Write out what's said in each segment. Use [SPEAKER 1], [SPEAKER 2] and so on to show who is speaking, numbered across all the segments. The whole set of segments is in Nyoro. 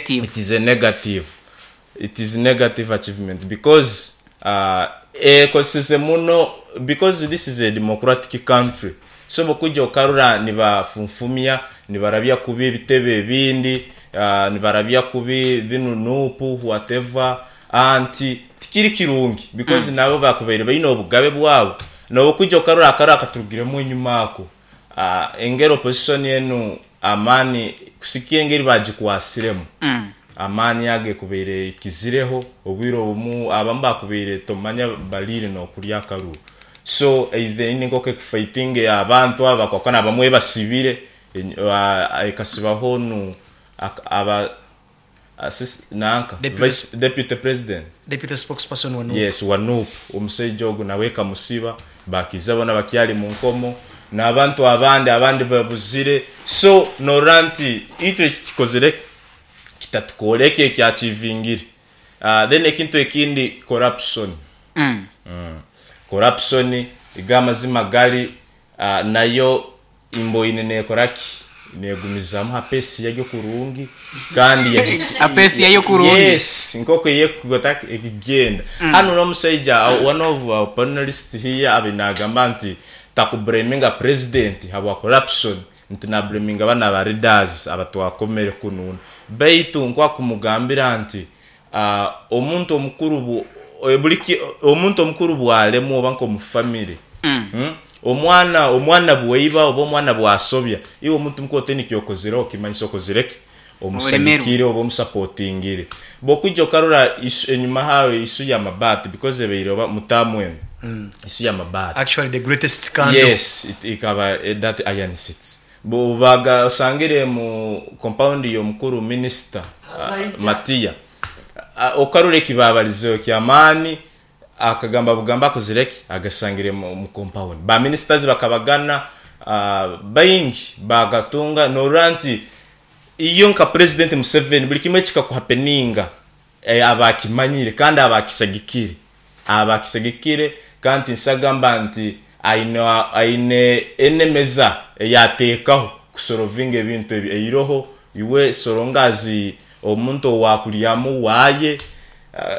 [SPEAKER 1] Negative.
[SPEAKER 2] It is a negative. It is negative achievement because ekozeseze muno because this is a democratic country so bwokwija okarora nibafunfumya, nibarabya kubi ebitebe ebindi, nibarabya kubi dhinu Nup whatever anti tikiri kirungi because nabo bakubaire baine obugabe bwabo. Nobwokwija okarora akaruru akaturugiremu enyuma ako, engeri opposition enu amaani kusikia engeri bagikwasiremu, amaani ago ekubaire ekizireho, obwire obumu abamu bakubaire tomanya baliire nokulya akaruru. So either eine nkoku ekufightinga abantu abo abakwakana abamwe ebasibire, ekasibaho onu aba nanka vice deputy president.
[SPEAKER 3] Deputy spokesperson wa Nup.
[SPEAKER 2] Yes wa Nup omusaija ogu nawe ekamusiba bakiza bona bakyali munkomo nabantu abandi abandi babuzire so norora nti itwe ekitukozire kitatukora ekyo ekyakyivingire then ekintu ekindi corruption corruption igo amazima gali nayo Imboine nekora ki? Negumizamu ha pace yaryo kurungi kandi
[SPEAKER 1] Ha pace yayo kurungi.
[SPEAKER 2] Yes, nkoku eyekugota ekigenda. Hanu nomusaija one of our panelists here abaire nagamba nti takublaminga president habwa corruption nti nablaminga banu aba leaders abatwakomere kununa. Baitu nkwakumugambira nti omuntu omukuru omuntu omukuru bwalemwa oba nkomu family, omwana omwana bwaiba oba omwana bwasobya, iwe omuntu mukuru otaine kyokozireho kimanyisa okozire ki? Omusagikire oba omusapotingire. Bwokwija okarora enyuma haaho issue ya mabaati because ebaire oba mu term enu, issue ya mabaati.
[SPEAKER 3] Actually the greatest scandal.
[SPEAKER 2] Yes, ikaba that iron seats. Bwobaga osangire mu compound y'omukuru minister Matia, okarora eki baabalizeho ky'amaani, akagamba bugamba akozire ki? Agasangire mu compound. Ba ministers bakabagana baingi baagatunga norora nti iyo nka President Museveni buli kimwe ekikakuhapeninga aba akimanyire kandi aba akisagikire. Aba akisagikire kandi tinsagamba nti aine aine enemeza ei ateekaho kusorovinga ebintu ebi eiroho iwe so long as omuntu owakuryamu waaye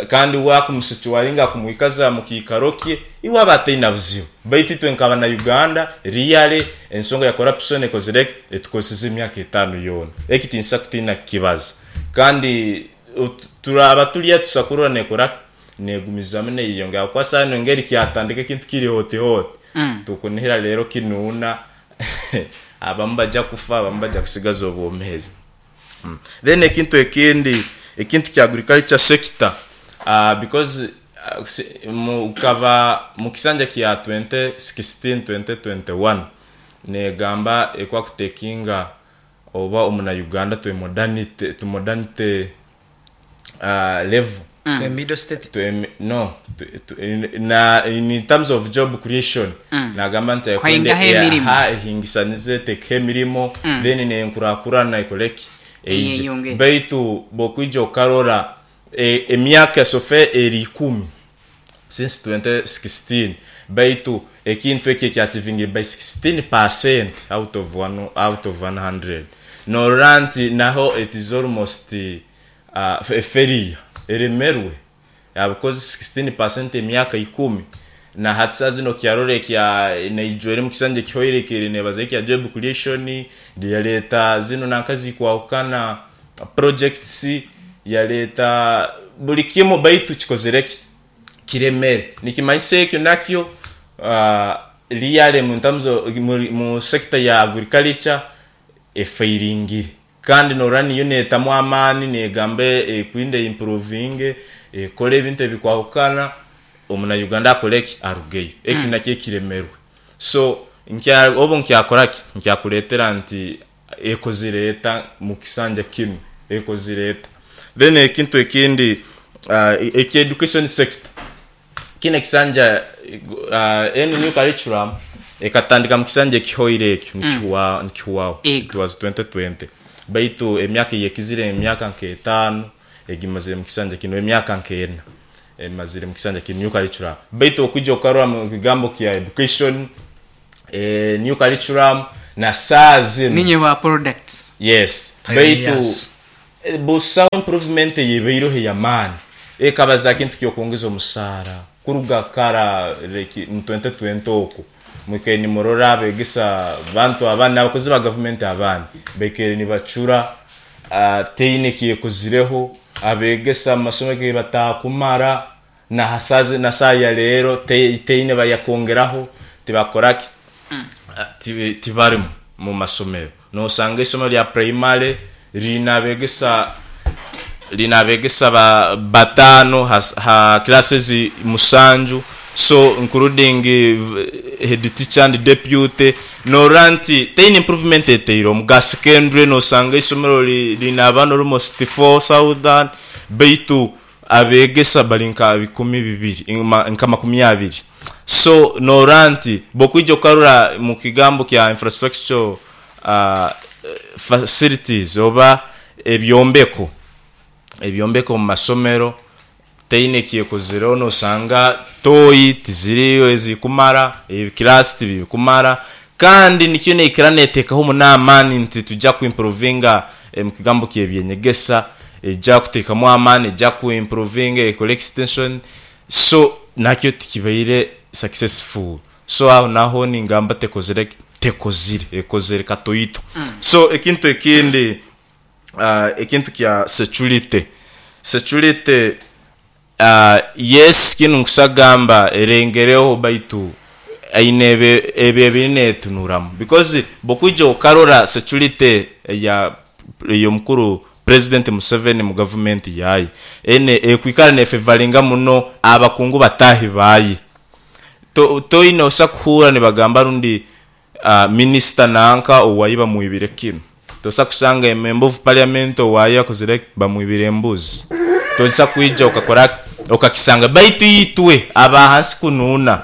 [SPEAKER 2] kandi we akumusecuwaringa akumwikaza mu kiikaro kye iwe aba ataina buzibu. Baitu itwe nka bana Uganda really ensonga ya corruption ekozire ki? Etukozeseze emyaka etaano yoona. Eki tinsa kutiina kukibaza kandi Turaaba turi atusa kurora nekora ki? Negumizamu neyeyongera ahabw'okuba saaha enu engeri kyatandika ekintu kiri hoti hoti, tukunihira reero kinuuna abamu baja kufa abamu baja kusigaza obwomeezi. Then ekintu ekindi, ekintu kya agriculture sector because mukaba mukisanja kya 2016, 2021 negamba ekwakutekinga oba omuna Uganda to a modernity, to modernity level.
[SPEAKER 3] To a middle state.
[SPEAKER 2] To a, no, to, to, in, na, in terms of job creation nagamba nti ekwenda
[SPEAKER 1] Kuhingaho emirimo.
[SPEAKER 2] aha ehingisanize etekeho emirimo then nenkurakurana ekore ki? Eije.
[SPEAKER 1] Eyeyongere.
[SPEAKER 2] Baitu bwokwija okarora emyaka so far eri ikumi since 2016 baitu ekintu eki ekyakivingire by 16 percent out of one out of 100 norora nti naho it is almost a failure eremerwe because 16 percent emyaka ikumi na hati saaha zinu okyarora ekya naijwere mukisanja ekihoire ekere nebaza ekya job creation yareta zinu nanka zikwahukana projects Yaleeta buli kimu baitu kikozire ki? Kiremere. Nikimanyisa ekyo nakyo really mu terms of mu sector ya agriculture efairingire. Kandi norora niyo netamu amaani negamba ekwenda e improvinge, ekore ebintu ebikwahukana, omuna Uganda akore ki? Arugeyo. Ekyo nakyo ekiremerwe. So obu nkyakora ki? Nkyakuletera nti Ekozire eta mu kisanja kinu? Ekozire eta? Then ekintu ekindi ekya education sector, kinu ekisanja enu new curriculum ekatandika mu kisanja ekihoire ekyo nikihwaho, it was 2020 baitu emyaka eyekizire emyaka nk'etaano egimazire mu kisanja kinu, emyaka nk'ena emazire mu kisanja kinu new curriculum. Baitu okwija okarora mu kigambo kya education, new curriculum na saaha zinu.
[SPEAKER 1] Ninye ba products.
[SPEAKER 2] Yes, baitu
[SPEAKER 3] Pioneers.
[SPEAKER 2] Busaho improvement eyebaireho ey'amaani ekabaza kintu kyokwongeza omusaara kuruga kara, like mu 2020 oku mwikaire nimurora abegesa bantu abandi n'abakozi ba gavumenti abandi baikaire nibacura, teine kyekozireho abegesa mu masomero ge batakumara na na saaha ya leero teine bayakwongeraho, tibakoraki, tibarimu mu masomero. Nosanga isomero lya primary riine abegesa 5 ha classes 7, so including head teacher and deputy. Norora nti teine improvement eteirwe. Omu ga secondary nosanga isomero riine abaana almost 4000 baitu abegesa bari nka 2000, nka 20. So norora nti bwokwija okarora mu kigambo kya infrastructure facilities oba ebyombeko omu masomero teine kyekozireho. Nosanga toyi tiziriyo ezirikumara, ebikiraasi tibirikumara, kandi nikyo neikara netekaho muno amaani nti tujja kuimprovinga omu kigambo ky'eby'enyegesa, ejja kutekamu amaani, ejja kuimprovinga ekore extension, so nakyo tikibaire successful. So aho naho ningamba tekozire ki? Tekozire, ekozere katoito. So ekintu ekindi, ekintu kya security, security yes kinu nkusa kugamba erengereho baitu eine ebe ebiri netunuramu because bwokwija okarora security eya ey'omukuru President Museveni mu gavumenti yaye ene ekwikara nefevaringa muno abakungu bataahi baye. Toine osa kuhuura nibagamba rundi minisita nanka owaye bamwibire kinu. Tosa kusanga member of parliament owaye akozire ki? Bamwibire embuzi. Tosa kwija okakora ki? Okakisanga. Baitu itwe abahansi kunuuna,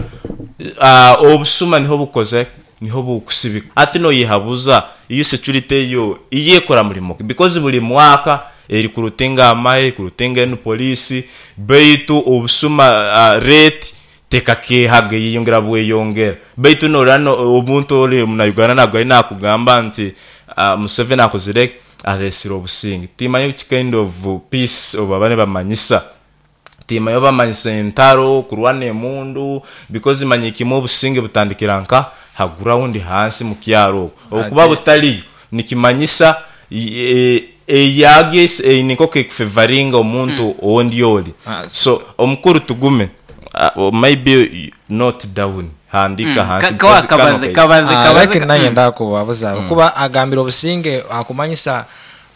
[SPEAKER 2] obusuma niho bukozire ki? Niho bukusibika. Hati noyehabuza iyo security eyo iyo ekora mulimo ki? Because buli mwaka erikurutinga amahe, erikurutinga enu poliisi, baitu obusuma rate tekakehaga eyeyongera bweyongera. Baitu norora omuntu ori omuna Uganda nagugayo nakugamba nti Museveni akozire ki? Aresire obusinge. Timanya which kind of peace obu baba nibamanyisa. Timanya oba bamanyisa entaro, kurwana emundu, because manya kimwe obusinge butandikira nka ha ground hansi mu kyaro okwo. Obukuba
[SPEAKER 1] Ate
[SPEAKER 2] butariyo nikimanyisa eyagyo eine nk'oku ekufevaringa omuntu ondi ori. So omukuru Tugume, maybe note down, handika hansi because kano
[SPEAKER 4] Kabaze
[SPEAKER 2] kaija.
[SPEAKER 4] kabaze kabaze
[SPEAKER 1] Lakini naye ndakubabuza kuba agambire obusinge akumanyisa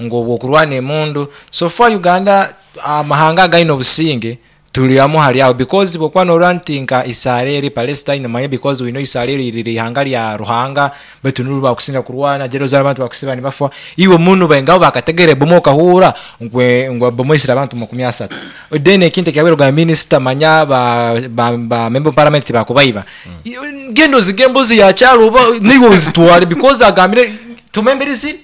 [SPEAKER 1] ngu obwokurwana emundu. So far Uganda amahanga againe obusinge tuli amu hali aho, because bwokuba norora nti nka Israel, Palestine, manye because we know Israel riri ihanga lya Ruhanga, baitu nuru bakusinga kurwana Jerusalem, abantu bakusiba nibafa iwe munu baingaho bakategere bomo okahura ngwe bomo isira abantu 30. Then ekintu ekyabere ga minister manya ba member of parliament bakubaiba. Gendo zige embuzi ya kyalo oba niwe ozitwale, because agambire tumemberizi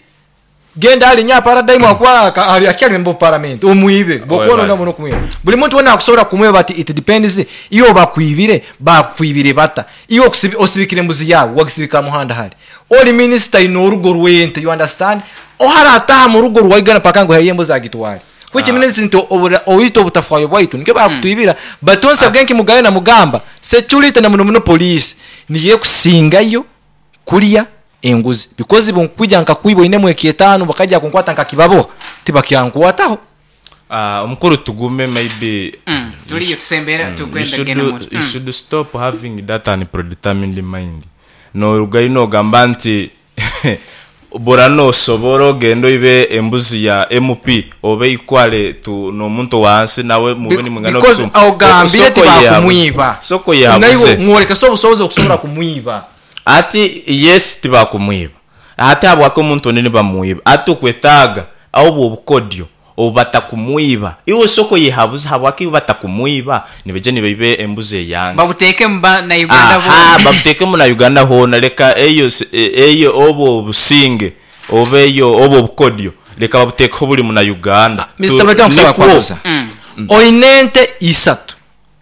[SPEAKER 1] genda ali nya paradigm akuba ali akyali member of parliament omwibe bwokuba
[SPEAKER 2] Webale.
[SPEAKER 1] muno kumwiba. Buli muntu wena akusobola kumwiba, but it depends iyo bakwibire bata iyo osibikire embuzi yawe wagisibika muhanda hali oli minister ino orugo rwente, you understand, ohara ataha mu rugo rwaigana paka ngo haye embuzi agitwale, which means nti oyita obutafwayo bwaitu nikyo bakutwibira. But once again kimugayo na mugamba security na muno muno police niye kusingayo kulya enguzi, because bunkwija nkakwiba oinemu ekyetaano bakajja kunkwata nkakibabo tibakyankwataho.
[SPEAKER 2] Omukuru Tugume, maybe
[SPEAKER 4] Tuliyo tusembera tukwenda genda
[SPEAKER 2] you should stop having that unpredetermined mind. Norugayo nogamba nti bura nosobora ogenda oibe embuzi ya MP oba eikwale tu n'omuntu wansi nawe mube nimwingana
[SPEAKER 1] Because
[SPEAKER 2] obusuma.
[SPEAKER 1] ogambire
[SPEAKER 2] Soko yehabuze.
[SPEAKER 1] tibakumwiba.
[SPEAKER 2] Soko yehabuze.
[SPEAKER 1] Naiwe mworeka so obusobozi okusobola kumwiba.
[SPEAKER 2] Ati yes tibakumwiba. Ate habwaki omuntu onene bamwiba? Ati okwetaaga obwo obukodyo obu batakumwiba. Iwe soko yehabuze habwaki batakumwiba? Nibaija nibaiba embuzi eyange.
[SPEAKER 4] Babuteeke mu ba na Uganda
[SPEAKER 2] Aha,
[SPEAKER 4] boona.
[SPEAKER 2] Babuteekemu na Uganda hoona. Leka eyo eyo obwo obusinge oba eyo obwo obukodyo leka babuteekeho buli muna Uganda.
[SPEAKER 1] Mr. Mureka nkusaba
[SPEAKER 2] Nikwo.
[SPEAKER 1] kwabuza. Oine ente isatu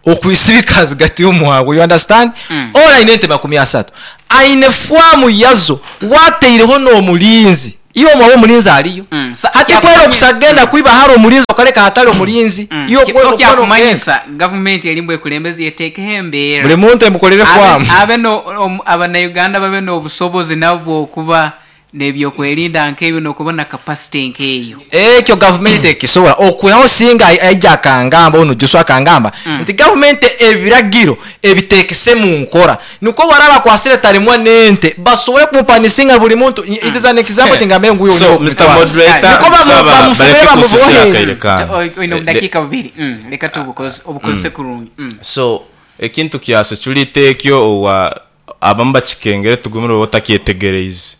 [SPEAKER 1] okwisibika zigati y'omuhago, you understand? Ora aine ente 30, aine fwamu yazo wateireho n'omulinzi. Iwe omwawe omulinzi aliyo. Hati kwera okusagenda kwiba hari omulinzi okaleka hatali omulinzi. Iwe
[SPEAKER 4] So
[SPEAKER 1] kwera okuba n'ogenda.
[SPEAKER 4] Kyakumanyisa gavumenti erimu ekulembezi eteekeho embeera
[SPEAKER 1] Buli muntu emukolere fwamu.
[SPEAKER 4] Abe no abannayuganda babe n'obusobozi nabo okuba n'ebyokwerinda nk'ebyo n'okuba na capacity nk'eyo.
[SPEAKER 1] Ekyo gavumenti ekisobola okwihaho singa aija akangamba onu Joshua akangamba nti gavumenti ebiragiro ebitekese mu nkora nikwo baraba bakwasire tarimwa n'ente basobole kumupanisinga buli muntu. It is an example tingambe nguyo.
[SPEAKER 2] So Mr. Moderator,
[SPEAKER 1] Niko
[SPEAKER 2] nsaba
[SPEAKER 1] bamufubire
[SPEAKER 2] baleke kusisira
[SPEAKER 1] bamubohe.
[SPEAKER 2] akaire kange.
[SPEAKER 4] Oine obudakiika bubiri. Leka tubukozese obukozese kurungi.
[SPEAKER 2] So ekintu kya security ekyo owa abamu bakikengere tugumire oba otakyetegereize.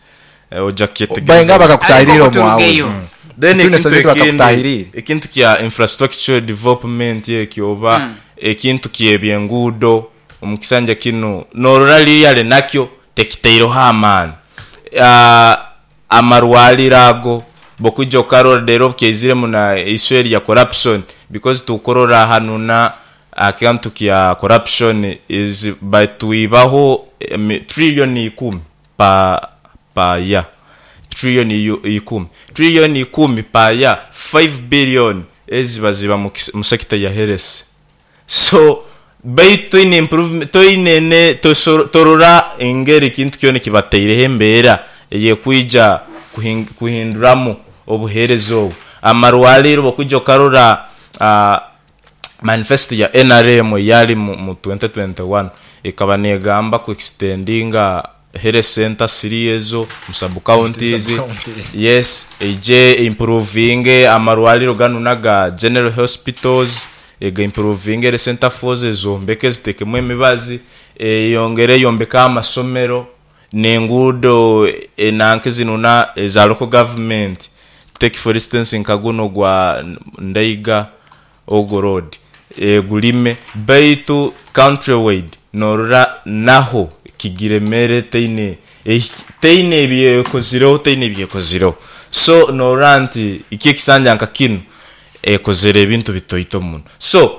[SPEAKER 2] Ojja
[SPEAKER 1] Bainga
[SPEAKER 2] kukyetegereza.
[SPEAKER 1] bakakutahirira
[SPEAKER 4] Ariko
[SPEAKER 1] omwawe.
[SPEAKER 4] turugeyo.
[SPEAKER 2] Then
[SPEAKER 1] Tune
[SPEAKER 2] ekintu
[SPEAKER 1] Soviet
[SPEAKER 2] ekindi
[SPEAKER 1] bakakutahirire.
[SPEAKER 2] Ekintu kya infrastructure development ekyo oba ekintu kyebyenguudo omu kisanja kinu norora liriale nakyo tekiteireho amaani. Amarwaliro ago bokwija okarora rero kyaiziremu na issue eri ya corruption, because tukorora hanu na akantu kya corruption is batwibaho trillion 10 pa year. Trillion 10. Trillion 10 pa year, 5 billion eziba ziba mu sector ya health. So baitu toine improvement, toine ne torora engeri kintu kyona kibateireho embeera eyekwija kuhinduramu obuheereza obu. Amarwaliro bokwija okarora manifesto ya NRM yali mu 2021 ekaba negamba ku extendinga health center series ezo mu sub counties.
[SPEAKER 1] Sub-counties.
[SPEAKER 2] Yes, eje improving amarwaliro ganu naga general hospitals, ega improving health center forces zombeke zitekemu emibazi, eyongere yombeka amasomero n'enguudo enanke zinuna eza local government. Take for instance nkaguno gwa Ndaiga Ogo Road, gulime baitu countrywide norora naho kigiremere teine teine ebyekozireho, teine ebyekozireho. So norora nti iki ekisanja nka kinu ekozere ebintu bitoito muno. So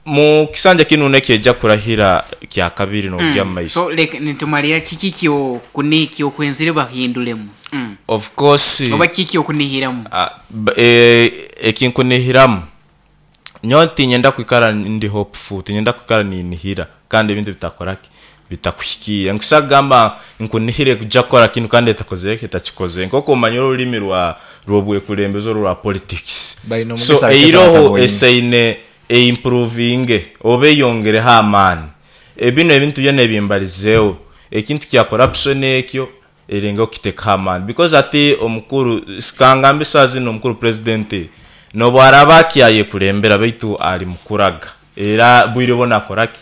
[SPEAKER 2] mu kisanja kinu nekyeja kurahira kya kabiri n'okugya mu maiso.
[SPEAKER 4] So leka nitumalira kiki kyo kuni kyo kwenzire bahindulemu.
[SPEAKER 2] Of course.
[SPEAKER 4] Oba kiki okunihiramu?
[SPEAKER 2] Ekinkunihiramu nyowe tinyenda kwikara ndi hopeful, tinyenda kwikara ninihira kandi ebintu bitakoraki bitakuhikiira. Nkusa kugamba nkunihire kuja kukora kinu kandi etakozere etakikoze. Nk'oku omanyire orulimi rw'obwekulembeze orwa politics.
[SPEAKER 1] Baine
[SPEAKER 2] So
[SPEAKER 1] omugisa
[SPEAKER 2] eiroho
[SPEAKER 1] bataboine.
[SPEAKER 2] esaine eimprovinge oba eyongereho amaani. Ebino ebintu byona ebimbalizeeho ekintu kya corruption ekyo eringa okutekaho amaani, because ati omukuru sikangambe saa zino omukuru president nobu araba akyayekulembera baitu ali mukuraga era bwire bona akoraki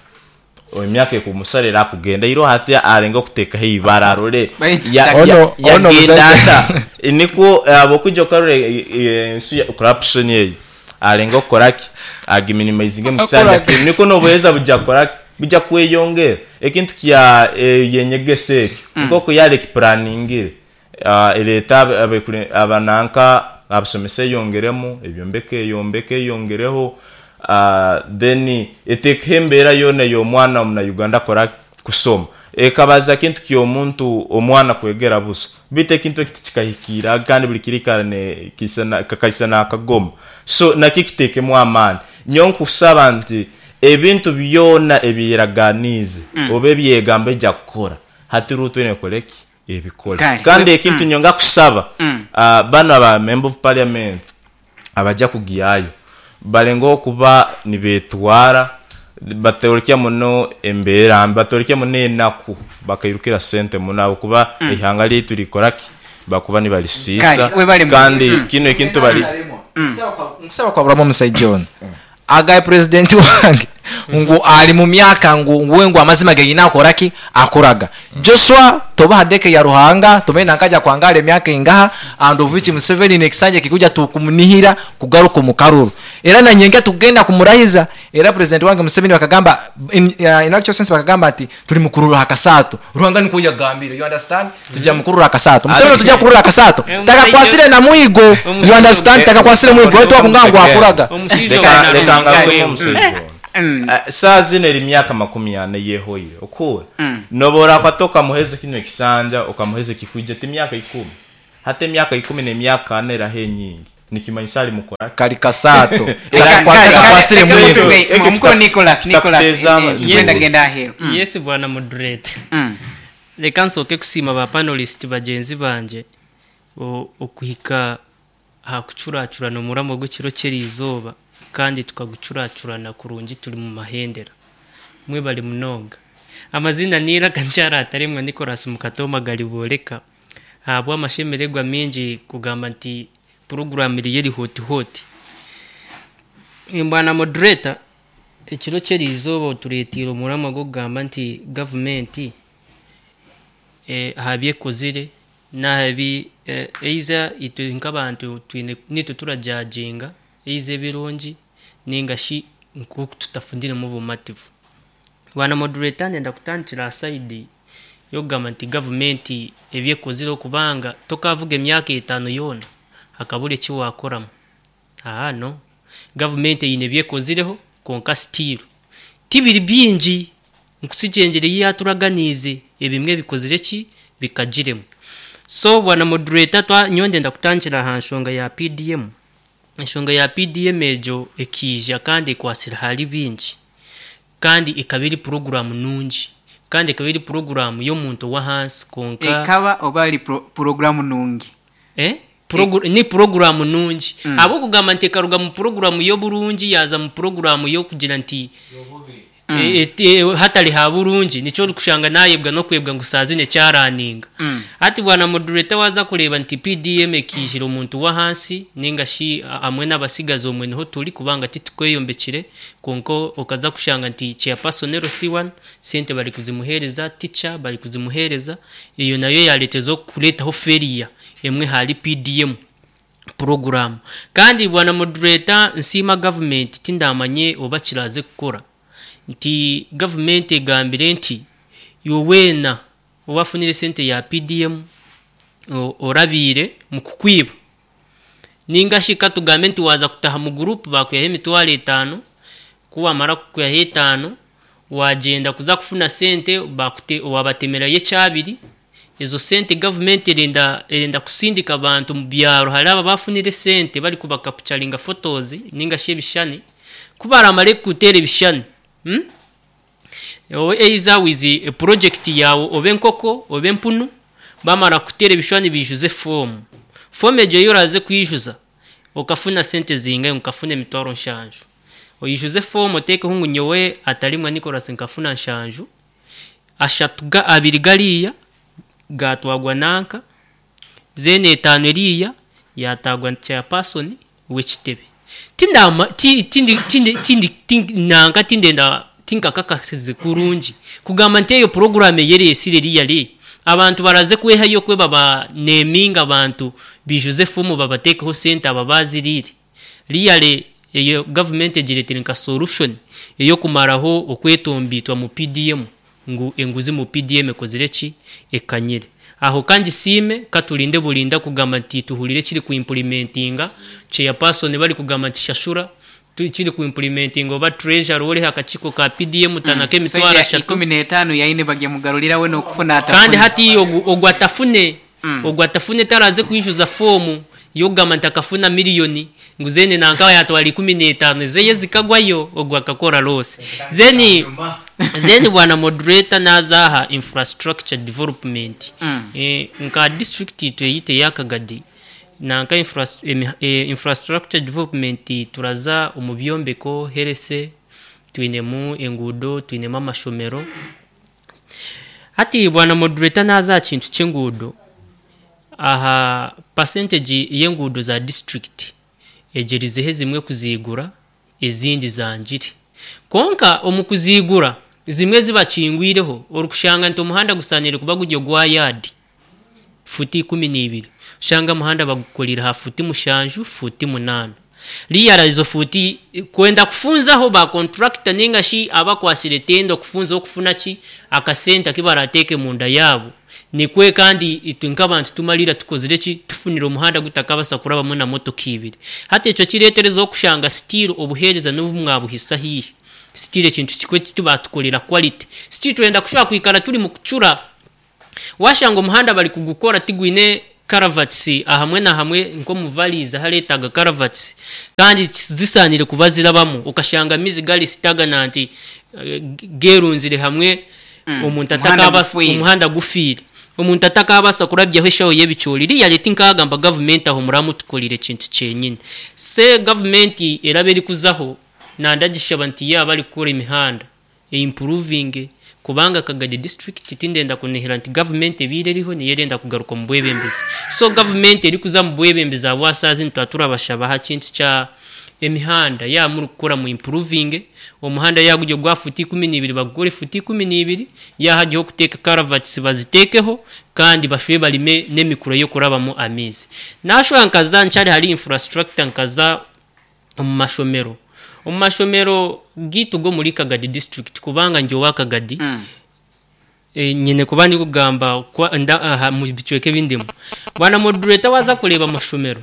[SPEAKER 2] emyaka ekumusara era akugenda iro hati arenga okutekaho ibara arore
[SPEAKER 4] Baitu
[SPEAKER 1] Ono- ono
[SPEAKER 2] yagenda
[SPEAKER 1] omusajja-
[SPEAKER 2] ata nikwo abokujja okarora ensi ya corruption eyo arenga okukoraki agiminimizinge mu kisanja
[SPEAKER 1] Akoraki.
[SPEAKER 2] kinu niko n'obuheereza bujja kukoraki bujja kweyongera ekintu kya yenyegesa ekyo nk'oku yali ekiplaningire ereeta abananka abasomesa eyongeremu ebyombeko eyombeko eyongereho then eteekeho embeera yoona ey'omwana omunayuganda akora kusoma ekabaza kintu ky'omuntu omwana kwegera busa baitu ekintu eki tikikahikiira kandi buli kirikara ne kisana kakaisana akagoma. So nakyo kiteekemu amaani. Nyowe nkusaba nti ebintu byona ebyeraganiize oba ebyegamba ejja kukora hati ruto ekoreki ebikole.
[SPEAKER 4] Kale.
[SPEAKER 2] Kandi ekintu nyonga kusaba bano aba member of parliament abajja kugiyayo balenga okuba nibetwara batorokya muno embeera mbi, batorokya muno enaku bakairukira sente muno abo kuba ihanga lyaitu likoraki bakuba nibalisiisa.
[SPEAKER 4] Kale, webale mu-
[SPEAKER 2] Kandi kino ekintu bali
[SPEAKER 1] Nkusaba kwaburamu omusajja ono agaye president wange ngu ali mu myaka ngu nguwe ngu amazima genyina akoraki akoraga. Joshua toba hadeke ya Ruhanga tumene nakaja kwangala emyaka ingaha and of which Museveni nekisanja kikuja tukumunihira kugaruka mu karuru era na nyenga tugenda kumurahiza era president wange Museveni bakagamba in actual sense bakagamba ati tuli mukururu hakasato Ruhanga niko yagambire, you understand? Tujja mukururu hakasato Museveni tujja kururu hakasato taka kwasire na mwigo, you understand? Taka kwasire mwigo wetu akungangu akuraga.
[SPEAKER 5] Omushaija
[SPEAKER 2] Leka
[SPEAKER 5] ono
[SPEAKER 2] ngaruke omushaija ono. Saa zino eri myaka 40 yehoire okura nobora kwata okamuheza kino ekisanja okamuheza ekikwija ti myaka 10. Hati emyaka 10 n'emyaka 4 eraho enyingi nikimanyisa ali mukora.
[SPEAKER 1] Kali kasaato.
[SPEAKER 4] Kakwasire
[SPEAKER 2] mwito.
[SPEAKER 4] Mukuru Nicholas, Nicholas,
[SPEAKER 2] Kitakuteza
[SPEAKER 4] tugenda genda aheeru.
[SPEAKER 5] Yes, bwana moderator. Reka nsooke kusiima ba panelist bagyenzi bangye okuhika aha kucuracurana omuramo gw'ekiro ky'eriizooba, kandi tukagucuracurana kurungi turi mu mahendera. Mwebale munonga. Amazina ni Iraka Nkyara Ataremwa Nicholas Mukatoma Galiboreka. Ahabw'amashemererwa mingi kugamba nti puroguramu eriyo eri hoti hoti. Bwana moderator, ekiro ky'eriizooba otureeteire omuramo gw'okugamba nti gavumenti aha byekozire n'aha bi eiza itwe nk'abantu twine nitwe turajudginga eiza ebirungi ninga shi nk'oku tutafuniremu obumativu. Bwana moderator, ndenda kutandikira aha side y'okugamba nti gavumenti ebyekozire, okubanga tokavuga emyaka 5 yoona hakabura eki wakoramu. Aha no gavumenti eine ebyekozireho, konka still tibiri bingi nkusigyengere ei yaturaganiize, ebimwe bikozire ki bikagiremu. So bwana moderator, nyowe ndenda kutandikira aha nshonga ya PDM. Enshonga ya PDM egyo ekiija kandi ekwasire ahari bingi, kandi ekaba eri puroguramu nungi, kandi ekaba eri puroguramu y'omuntu w'ahansi, konka
[SPEAKER 4] Ekaba oba ari puroguramu nungi?
[SPEAKER 5] Ni puroguramu nungi, ahabw'okugamba nti ekaruga mu puroguramu y'oburungi yaza mu puroguramu y'okugira nti hatari ha burungi, nikyo orikushanga nayebwa n'okwebwa ngu saa zine kyaraninga. Hati bwana moderator, waza kureeba nti PDM ekiijire omuntu w'ahansi ninga shi hamwe n'abasigazi omwe niho turi, kubanga titukweyombekire, konka okaza kushanga nti chairperson LC1 sente bari kuzimuheereza, teacher bari kuzimuheereza, eyo nayo yareeteza okureetaho failure emwe hari PDM program. Kandi bwana moderator, nsiima gavumenti, tindamanye oba kiraze kukora, nti gavumenti egambire nti iwe weena owafunire sente ya PDM orabiire mu kukwiba, ninga shi katugambe nti waza kutaha mu group bakwihaho emitwaro 5, ku wamara kukwihaho 5 wagenda kuza kufuna sente wabatemerayo ekyabiri, ezo sente gavumenti erenda kusindika abantu mu byaro hari aba bafunire sente bari kubakapucharinga photos ninga shi ebishani, ku baramare kutera ebishani, Owe eiza wizi project yawe oba enkoko oba empunu, bamara kutera ebishwani bijuze fomu. Fomu egyo yo oraze kwijuza okafuna sente zingahe? Ukafuna emitwaro 7, oyijuze fomu otekeho ngu nyowe Atarimwa Nicholas nkafuna 7, 3 2 gariya gatwagwa nanka, zene 5 eriya yatagwa chairperson w'ekitebe. Tindama tindi tindi tindi nanka tindenda tinkakakasize kurungi kugamba nti eyo porogaramu eyeresire eriya ri abantu baraze kwehayo kwe baba neminga abantu bijuze fomu babatekeho sente aba bazirire riyale. Eyo gavumenti egiretire nka solution eyokumaraho okwetombitwa mu PDM, ngu enguzi mu PDM ekozire ki ekanyire aho. Kandi siime katulinde bulinda kugamba nti tuhurire kiri kuimplementinga, chairperson bari kugamba nti shashura, kiri kuimplementinga oba treasurer ori akakiiko ka PDM tanaka emitwaro 3.
[SPEAKER 4] 15 yaine bagyamugarurira we n'okufuna atafune.
[SPEAKER 5] Kandi hati ogu atafune, ogu atafune taraze kwijuza fomu yogamba nti akafuna miliyoni, ngu zene nanka yatwara 15 zeye zikagwayo, ogu akakora loss. Zeni bwana moderator, nazaha infrastructure development. Nka district itwe yite yakagadi nanka infrastructure development, turaza omu byombeko herese, twinemu enguudo, twinemu amashomero. Hati bwana moderator, naza kintu ky'enguudo, aha percentage y'enguudo za district egyerizeho zimwe kuzigura, ezindi zangire, konka omu kuzigura zimwe zibakingwireho, orikushanga nti omuhanda gusanire kuba guri ogwa yadi futi 12, ushanga omuhanda bagukorire ha futi 7, futi 8, riyara izo futi kwenda kufunzaho ba contractor ninga shi abakwasire tendo kufunza okufuna ki akasenta kibarateke munda yabo nikwe. Kandi itwe nk'abantu tumalira tukozire ki tufunire omuhanda gutakabasa kurabamu na motoka ibiri. Hati ekyo kireetereza okushanga still obuheereza n'obu mwabuhisa hihi, still ekintu kikwe tibatukorera quality, still twenda kushobora kwikara turi mu kucura, washanga omuhanda bari kugukora tigwine. Caravats ahamwe na hamwe nk'omu valleys ahareetaaga caravats kandi zisaanire kuba zirabamu okashanga amaizi gari stagnant geerunzire hamwe omuntu
[SPEAKER 4] Omuhanda
[SPEAKER 5] atakaabasa
[SPEAKER 4] gufiire.
[SPEAKER 5] Omuhanda gufiire, omuntu atakaabasa kurabyaho eshaho y'ebicoori. Really tinkaagamba gavumenti aho muramutukorire ekintu kyenyini. Se gavumenti eraba erikuzaho nandagishaba nti yaaba arikukora emihanda eimprovinge, kubanga Kagadi district tindenda kunihira nti gavumenti ebiire eriho niyo erenda kugaruka omu bwebembezi. So gavumenti erikuza mu bwebembezi ahabwasaazi nituba turabashaba aha kintu kya emihanda, yaaba murikukora mu improvinge omuhanda, yaaba guri ogwa futi 12 bagukore futi 12, yaaba hariho okuteeka caravats baziteekeho, kandi bashube barime n'emikura y'okurabamu amaizi. Nashusha nkaza nkyari hari infrastructure, nkaza omu mashomero, omu mashomero gaitu g'omuri Kagadi district, kubanga ndi owa Kagadi. Nyine kuba ndikugamba aha mu bicweka ebindimu. Bwana moderator, waza kureeba amashomero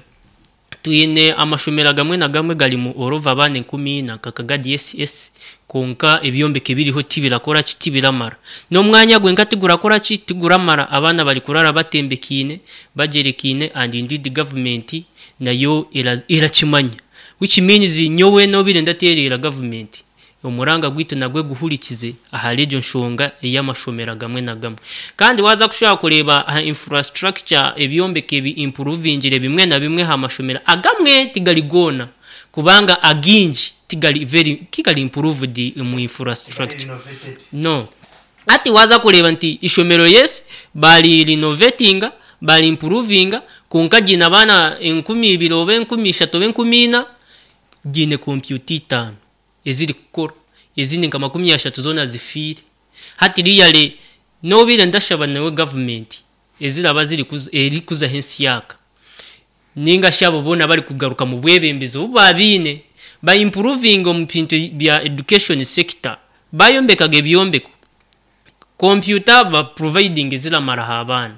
[SPEAKER 5] twine, amashomero agamwe na gamwe garimu orova abaana 4000 nka Kagadi SS, konka ebyombeko ebiriho tibirakora ki, tibiramara n'omwanya gwenka tigurakora ki, tiguramara. Abaana bari kurara batembekiine, bagyerekiine, and indeed government nayo erakimanya, which means nyowe nobire ndateerera government omuranga gwaitu nagwe guhurikize ahari egyo nshonga ey'amashomero agamwe na gamwe. Kandi waza kushobora kureeba aha infrastructure, ebyombeko ebi improvingire bimwe na bimwe aha mashomero agamwe, tigari goona, kubanga agingi tigari very tigari improved mu infrastructure. No ati waza kureeba nti ishomero, yes, bari renovatinga, bari improvinga, konka giine abaana 2000 oba 3000 oba 4000, giine kompyuta 5 eziri kukora, ezindi nka 30 zoona zifiire. Hati really nobiire ndashaba nawe gavumenti eziraba ziri erikuzaho ensyaka ninga shi abo boona bari kugaruka mu bwebembezi obu babiine, ba improving omu bintu bya education sector, bayombekaga ebyombeko, kompyuta ba providing ziramaraho abaana,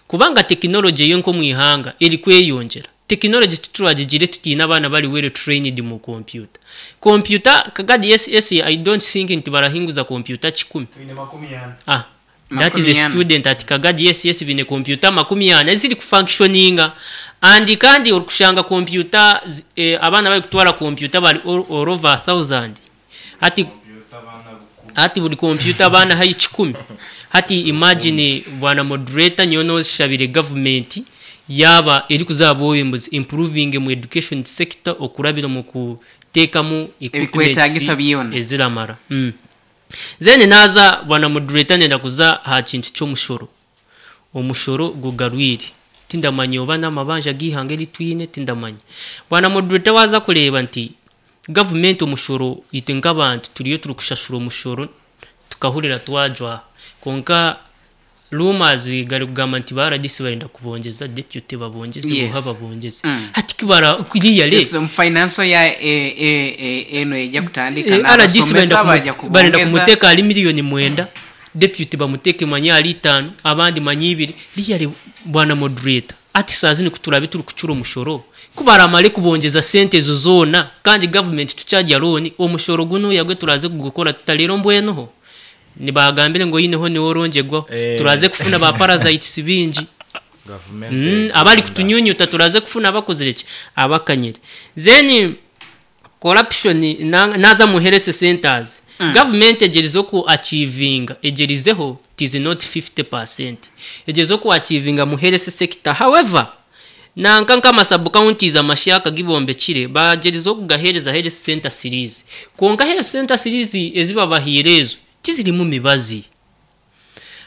[SPEAKER 5] kubanga tekinology yo nk'omu ihanga eri kweyongyera. Tekinology tituragigire tutiine abaana bari well trained mu kompyuta. Kompyuta Kagadi SS, I don't think nti barahinguza kompyuta 100. Ah, that is a
[SPEAKER 4] 40.
[SPEAKER 5] Student at Kagadi SS bine kompyuta 40 eziri kufunctioninga, and kandi orikushanga kompyuta abaana bari kutwara kompyuta bari all over 1000. Hati buri kompyuta abaana hayi 100. Hati imagine, bwana moderator, nyowe noshabire government yaba eri kuzaba obwebembezi improving mu education sector okurabira mu kuteekamu
[SPEAKER 4] Ebikwetaagisa byona.
[SPEAKER 5] eziramara. Then naza, bwana moderator, nenda kuza aha kintu ky'omushoro. Omushoro gugarwire, tindamanya oba n'amabanja g'ihanga eritwine, tindamanya. Bwana moderator, waza kureeba nti gavumenti omushoro, itwe nk'abantu turiyo turi kushashura omushoro tukahurira twajwaha, konka rumors gari kugamba nti ba RDC barenda kubongeza, deputy babongeze, buha babongeze. Hati kibara kuriya le
[SPEAKER 4] Yes, mu financial ya eno ejja kutandika
[SPEAKER 5] RDC
[SPEAKER 4] n'abasomesa
[SPEAKER 5] barenda
[SPEAKER 4] bajja
[SPEAKER 5] barenda
[SPEAKER 4] kubongeza.
[SPEAKER 5] kumuteka ari miliyoni 9, deputy bamuteke manyi ari 5, abandi manyi 2. Really, bwana moderator, ati saa zini kuturabe turi kucura omushoro kubaramare kubongeza sente ezo zoona, kandi government tukyarya loan. Omushoro guno yagwe turaze kugukora tutarero mbwenuho nibagambire ngo yineho niwo orongyegwaho. Turaze kufuna ba parasites bingi. Abari kutunyunyuta turaze kufuna abakozire ki, abakanyire. Then corruption naza mu health centers, government egerizeho ku achievinga, egerizeho, it is not 50%, egerizeho ku achievinga mu health sector. However, nanka nk'ama sub counties amashyaka gibombekire bagerizeho kugahereza health center series, konka health center series ezibabahire ezo tizirimu mibazi.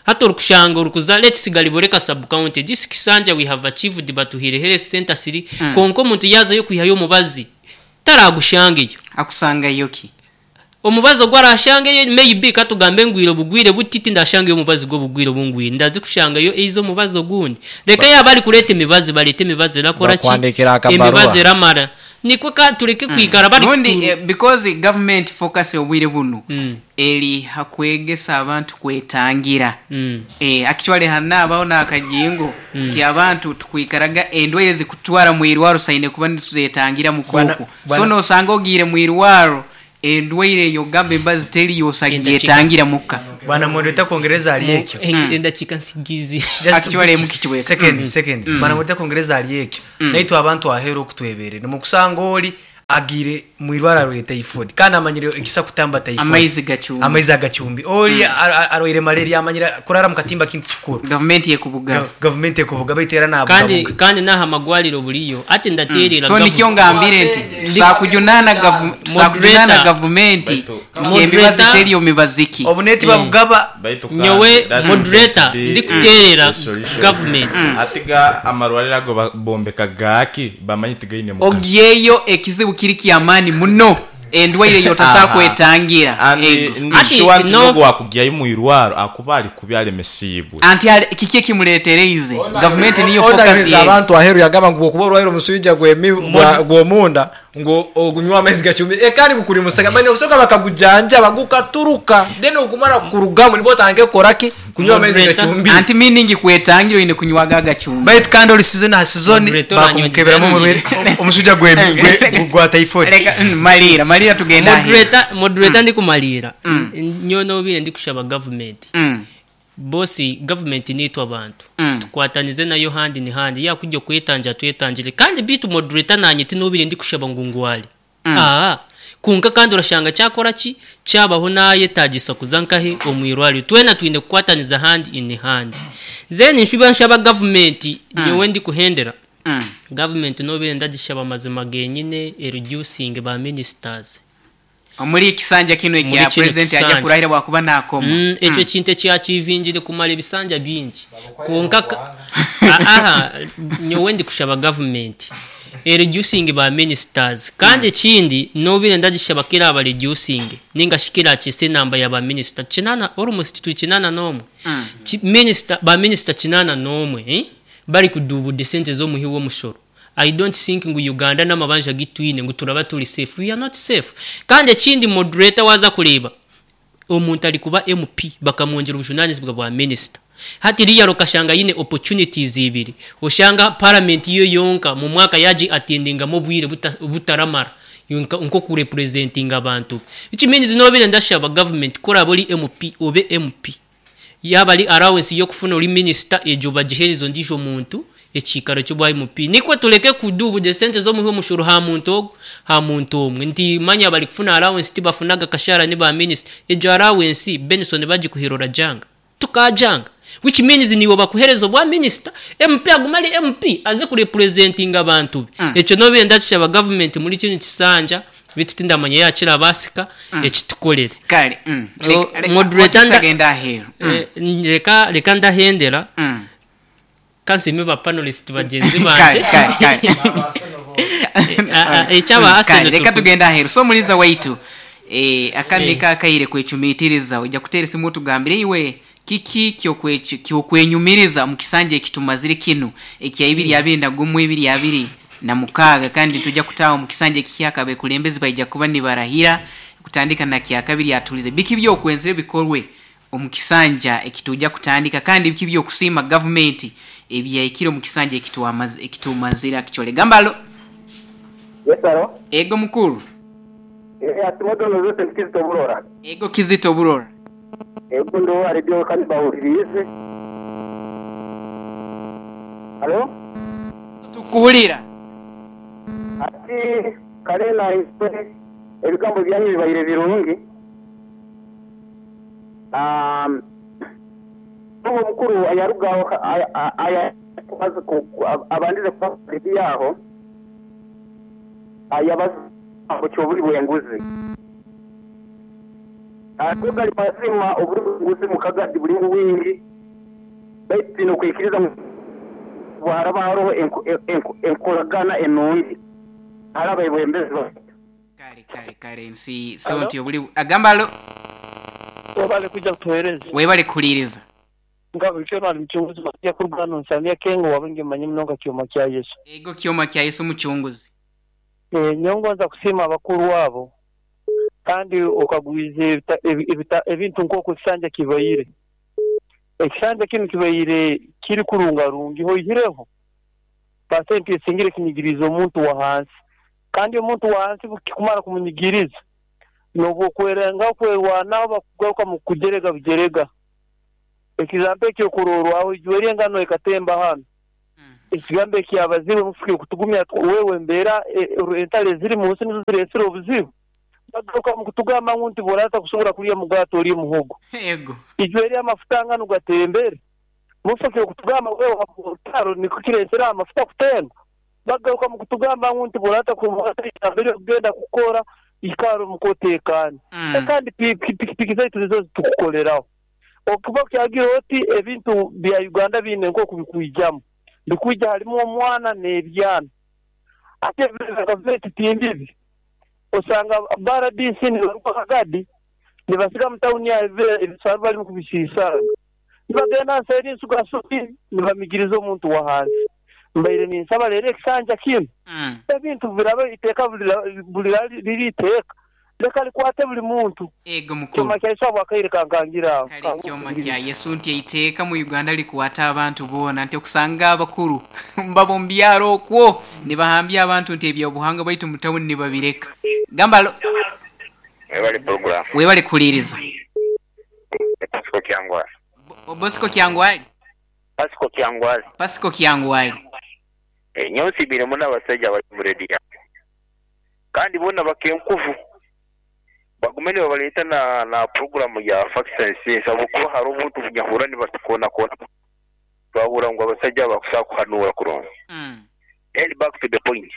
[SPEAKER 5] Hati orikushanga orikuza, let's Galiboreka sub county, this Kisanja, we have achieved, batuhire health center siri, konka omuntu yazayo kwihayo omubazi taragushangeyo.
[SPEAKER 4] Akusangayo ki?
[SPEAKER 5] Omubazi ogwo arashangeyo, maybe katugambe ngwire obugwire butiti, ndashangeyo omubazi gw'obugwire obungwire, ndazi kushangayo eizo omubazi ogundi. Reka yaba ari kureta emibazi, barete emibazi erakora ki?
[SPEAKER 1] Bakwandikira akabaruwa.
[SPEAKER 5] Emibazi eramara, nikwo ka tureke kwikara bari
[SPEAKER 4] Rundi because government focus obwire buno eri hakwegesa abantu kwetangira. Actually hana abaho n'akajingo nti abantu tukwikaraga endwaire zikutwara mu irwaro saine kuba nituzetangira mukuku. So nosanga ogiire mu irwaro endwaire eyo gamba embazi teriyo
[SPEAKER 5] Endakika.
[SPEAKER 4] osagiyetangira muka.
[SPEAKER 3] Bwana moderator, kwongereza ali ekyo.
[SPEAKER 5] Endakiika nsigizi.
[SPEAKER 3] Just
[SPEAKER 4] Actually, mukikiweka.
[SPEAKER 3] seconds, seconds. Bwana moderator, kwongereza ali ekyo, naitwe abantu aheru okutweberere nimukusanga oli agire mwirwara arwaire typhoid kandi amanyire ekisa kutamba typhoid
[SPEAKER 4] Amaizi gacumbi.
[SPEAKER 3] Amaizi agacumbi. Oli arwaire malaria, amanyire kurara mu katimba kintu kikuru.
[SPEAKER 4] Gavumenti yekubuga.
[SPEAKER 3] Gavumenti ekubuga baitera
[SPEAKER 5] Kandi
[SPEAKER 3] nabugabuga.
[SPEAKER 5] kandi n'aha amagwariro buriyo ati ndaterera
[SPEAKER 4] So nikyo ngambire nti tusakujunana tusakujunana
[SPEAKER 5] Moderator.
[SPEAKER 4] gavumenti
[SPEAKER 2] Baitu-
[SPEAKER 4] nti emibazi
[SPEAKER 5] Moderator.
[SPEAKER 4] teriyo mibaziki.
[SPEAKER 3] Obuneti babugaba.
[SPEAKER 2] Baitu
[SPEAKER 5] Nyowe
[SPEAKER 2] kandi, that
[SPEAKER 5] moderator,
[SPEAKER 2] would be
[SPEAKER 5] ndikuterera
[SPEAKER 2] a solution.
[SPEAKER 5] government.
[SPEAKER 2] Atiga amarwariro ago bombeka gaki bamanyi tigaine mugaso.
[SPEAKER 4] Ogyeyo ekizibu kiri kyamaani muno, endwaire yotasa kwetangira.
[SPEAKER 2] And
[SPEAKER 4] Ego.
[SPEAKER 2] ndi
[SPEAKER 5] Ati,
[SPEAKER 2] sure nti
[SPEAKER 5] no-
[SPEAKER 2] n'ogwo wakugyayo mwirwaro akuba ali kubi alemesiibwe.
[SPEAKER 4] Anti kiki ekimuletereize gavumenti niyo focus
[SPEAKER 1] Onagereza
[SPEAKER 4] ye.
[SPEAKER 1] abantu aheru yagamba ngu bwokuba orwaire omuswija gw'omunda ngu ogunywa amaizi gacumbi ekandi gukuri musaga bani okusoka bakagujanjaba gukaturuka, then okumara kurugamu nibwo otandike kukoraki kunywa amaizi
[SPEAKER 5] Moderator.
[SPEAKER 1] gacumbi.
[SPEAKER 4] Anti meaning kwetangira oyine kunywaga agacumbi.
[SPEAKER 3] Baitu kandi oli season ha season
[SPEAKER 5] Moderator
[SPEAKER 3] bakumukeberamu
[SPEAKER 5] oranyongyeza.
[SPEAKER 3] omurwaire omusujja gwa typhoid.
[SPEAKER 4] Reka, malira malira tugenda aheru.
[SPEAKER 5] Moderator, ndikumalira nyowe nobire ndikushaba gavumenti, bosi gavumenti nitwe abantu tukwatanize nayo hand in hand, yakujja kwetangira twetangire. Kandi bitu moderator, nanye tinobire ndikushaba ngu ngwale aa kunka, kandi urashanga cyakora ki cyabaho nayetagisa kuza nkahe omwirwariro, twena twine kukwataniza hand in hand. Then nshuba nshaba gavumenti, nyowe ndikuhendera gavumenti nobire ndagishaba amazima genyine ereducing ba ministers.
[SPEAKER 4] Omuri ekisanja kino
[SPEAKER 5] Muri
[SPEAKER 4] ekya
[SPEAKER 5] kino
[SPEAKER 4] president ajja
[SPEAKER 5] kisanja.
[SPEAKER 4] kurahira bwakuba nakoma.
[SPEAKER 5] Ekyo kintu ekyakivingire kumara ebisanja bingi konka aha nyowe ndikushaba gavumenti ereducing ba ministers. Kandi ekindi nobire ndagishaba kira aba reducing ninga shikira kise namba ya ba minister 80, almost tu 81. Minister ba minister 81, eh? Bari kudubude sente z'omuhi w'omushoro. I don't think ngu Uganda n'amabanja gitwine ngu turaba turi safe. We are not safe. Kandi ekindi moderator, waza kureba omuntu ari kuba MP bakamwongera obujunanizibwa bwa minister, hati riya rukashanga yine opportunities ibiri, oshanga parliament yo yonka mu mwaka yaji attendingamo obwire butaramara nko kurepresentinga abantu, which means nobire ndashaba government kora buri MP obe MP, yaba ari allowance yo kufuna uri minister ejo bagihereza ondijo muntu ekikaro cy'ubwa MP, niko tureke kudubude sente zo muhe omushoro ha muntu ha muntu omwe nti manya bari kufuna allowance tibafunaga kashara ni ba minister. Ejo allowance Benson bagikuhirora janga tukajanga, which means niwe bakuhereza obwa minister, MP aguma ari MP aze kurepresentinga abantu be. Ekyo nobe ndakishaba government muri kino kisanja bitu tindamanya yakira basika ekitukorere.
[SPEAKER 4] Kale.
[SPEAKER 5] Oh,
[SPEAKER 4] Reka
[SPEAKER 5] moderator
[SPEAKER 4] tugenda aheru.
[SPEAKER 5] Reka ndahendera kansime ba panelist bagenzi
[SPEAKER 4] Kale
[SPEAKER 5] banje.
[SPEAKER 4] kale kale.
[SPEAKER 5] Ekyaba
[SPEAKER 4] Kale,
[SPEAKER 5] Arsenal
[SPEAKER 4] reka tugenda aheru. So muliza waitu, akandi kakaire kwecumitiriza ojja kutera esimu tugambire iwe kiki kyokwenyumiriza mu kisanja ekitumazire kino ekya 2021 2026, kandi tujja kutaawa mu kisanja ekihyaka abekulembezi baija kuba nibarahira kutandika na kyakabiri atulize biki byokwenzire bikorwe omu kisanja ekitujja kutandika, kandi biki byokusiima gavumenti ebyahikire omu kisanja ekitumazire akikyole gambalo.
[SPEAKER 6] Yes, hello.
[SPEAKER 4] Ego mukuru.
[SPEAKER 6] Atimodono zose Kizito Burora.
[SPEAKER 4] Ego Kizito Burora.
[SPEAKER 6] Ego ndo aribyo kandi bahuririze. Halo?
[SPEAKER 4] Tukuhulira.
[SPEAKER 6] Ati kale na iswe ebigambo byanyu bibaire birungi. Uwo mukuru ayarugaho aya abandize kuba yaho ayabaza cyoburi bwenguzi ako gali mazima oburi bwenguzi mukagadi buri wingi, baitu nokwikiriza bwaraba hariho enkoragana enungi haraba ebwembezi.
[SPEAKER 4] Kale kale kale, nsi so nti obuli agamba alo.
[SPEAKER 7] Webale kujja kutuweereza.
[SPEAKER 4] Webale kuhuliriza.
[SPEAKER 7] Nga bulijjo bali mucunguzi bajja kurugano nsamya kengo wabenge mmanyi munonga kyoma kya Yesu.
[SPEAKER 4] Ego kyoma kya Yesu mucunguzi.
[SPEAKER 7] Nyongonza kusiima abakulu abo kandi okagwiza ebintu nk'oku ekisanja kibaire. Ekisanja kinu kibaire kiri kurungarungi hoihireho pasenti esingire kinyigiriza omuntu wa hansi, kandi omuntu wa hansi kikumara kumunyigiriza N'obwokwerenga kwerwanaho bakugaruka mu kujerega bujerega. Ekigambo ekyokurorwaho ijweri engano ekatemba hano. Ekigambo ekyabazibwe mufuke kutugumya wewe embeera entale eziri mu nsi nizo zireesire obuzibu. Bagaruka mu kutugamba ngu nti bw'oraata kusobora kulya mugaati oli muhogo.
[SPEAKER 4] Ego.
[SPEAKER 7] Ijweri amafuta ngano gatembere. Mufuke kutugamba wewe orutaro niko kireesere amafuta kutemba. Bagaruka mu kutugamba ngu nti bw'oraata mbere okugenda kukora ikara omukoteekaani. Kandi pikipiki zaitu nizo zitukukoleraho. Okuba kyagira oti ebintu bya Uganda biine nk'oku bikwijamu. Bikwija harimu omwana n'ebyana. Ate gavumenti timbibi. Osanga ba RDC nibaruga Kagadi nibasiga mu tawuni aho ebisaaru barimu kubisiisanga. Nibagenda nseeri Nsuga-Subi nibamigiriza omuntu wa hansi. Mbaire ninsaba leero ekisanja kinu ebintu biraba iteeka buli iteeka leka likwate buli muntu.
[SPEAKER 4] Ego mukuru.
[SPEAKER 7] Kyoma kya Yesu habwakaire kankangira aho.
[SPEAKER 4] Kale kyoma kya Yesu nti eiteeka mu Uganda likwata abantu boona nti okusanga abakuru mbaba omu byaro okwo nibahambya abantu nti ebyobuhangwa baitu mu tawuni nibabireka. Gamba alo.
[SPEAKER 6] Webale program.
[SPEAKER 4] Webale kuhuliiriza.
[SPEAKER 6] Pasiko Kyangwali.
[SPEAKER 4] Bosco Kyangwali.
[SPEAKER 6] Pasiko Kyangwali.
[SPEAKER 4] Pasiko Kyangwali.
[SPEAKER 6] Nyowe nsiimire muno abasaija abali omu rediyo yange. Kandi boona bakenkuvu. Bagume nibabaleeta na puroguramu ya Facts and Sense ahabw'okuba hariho obuntu obunyahurra nibatukoonakoonamu twahurra ngu abasaija aba bakusobola kuhanuura kurungi. Then back to the point.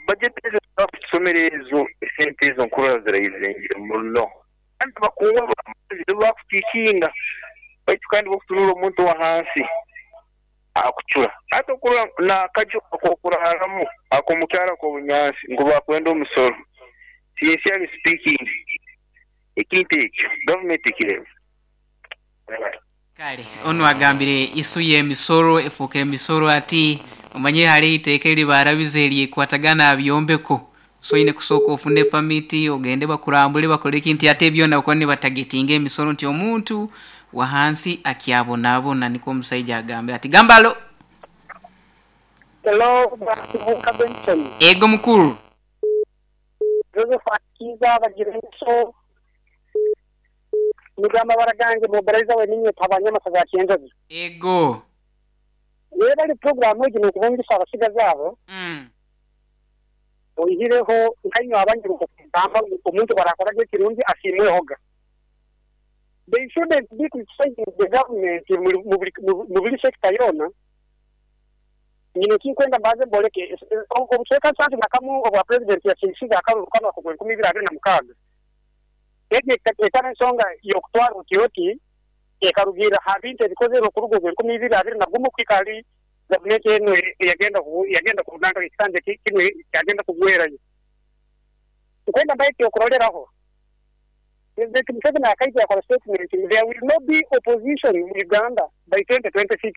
[SPEAKER 6] Budget ezo ezibakutusomera ezo, esente ezo nkurora ziraizengire muno. Kandi abakungu ab'amaani nibo bakutiikinga baitu kandi bw'okutunuura omuntu owa hansi akucura. Hati okurora n'akaju ak'okuraaramu ak'omukyaro ak'obunyansi ngu bakwenda omusoro. Sincerely speaking, ekintu ekyo gavumenti ekirebe.
[SPEAKER 4] Kale onu agambire isu y'emisoro efuukire misoro ati, Omanyire hariho eiteeka eri baarabize eryekwatagana aha byombeko. So oine kusooka ofune pamiti, ogende bakurambule bakore ki nti ate byona bakuba nibatagetinga emisoro nti omuntu wahansi akyabonabona nikwo omusaija agambire ati. Gamba alo!
[SPEAKER 8] Hello Bwana Kibuuka Benson.
[SPEAKER 4] Ego mukuru.
[SPEAKER 8] Josephat Kiiza Bagireso Nigo amabara gange mobilizer we ninye Tabanyamasaza ya Kyenjojo.
[SPEAKER 4] Ego.
[SPEAKER 8] Webale puroguramu egi nokubungisa abasigazi abo. Oihireho nkainywe abanyiruka okugamba ngu omuntu bwarakoraga ekirungi asiimwehoga. They shouldn't be criticizing the government mubuli sector yoona. Nyine ekinkwenda mbanze mboleke. Obucweka nsanju na kamu obwa president yasiisize akaruru kanu ak'ogwenkumi ibiri abiri na mukaaga. Egi etari ensonga y'okutwara oti oti, ekarugiirra ha bintu ebikozerwe okuruga ogw'enkumi ibiri abiri na gumu kuhika hali gavumenti enu eyagenda kunanka ekisanja kinu kyagenda kugwerayo. Nkwenda mbahe ekyokuroreraho. President Museveni akaija yakora statement ngu there will no be opposition mu Uganda by 2026.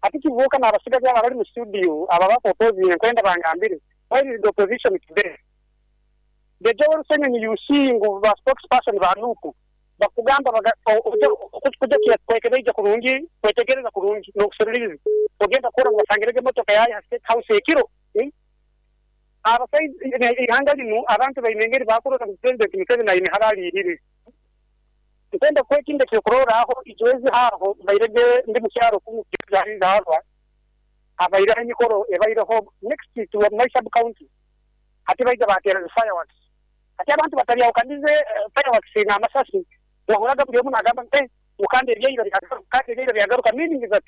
[SPEAKER 8] Hati Kibuuka n'abasigazi abo abali mu studio abo abaku-opposinga nkwenda bangambire where is the opposition today? The Joel Ssenyonyi you see ngu ba spokesperson ba NUP bakugamba kuja kwekebeija kurungi, kwetegereza kurungi n'okuseruliriza ogenda kurora ngu basangirege emotoka yaye ha State House ekiro. Abasaija ihanga linu abantu baine engeri bakurora ngu President Museveni aine hali aliihire. Nkwenda kuha ekindi ekyokurorraho ijwezi haho mbairege ndi mu kyaro kumu nzaarwa habaireho emikoro ebaireho next to my sub county. Hati baija bateera zi fireworks. Hati abantu batabyahukanize fireworks n'amasasi wahuraga buli omu nagamba nti kandi ebyaira byagaruka, kandi ebyaira byagaruka, meaning that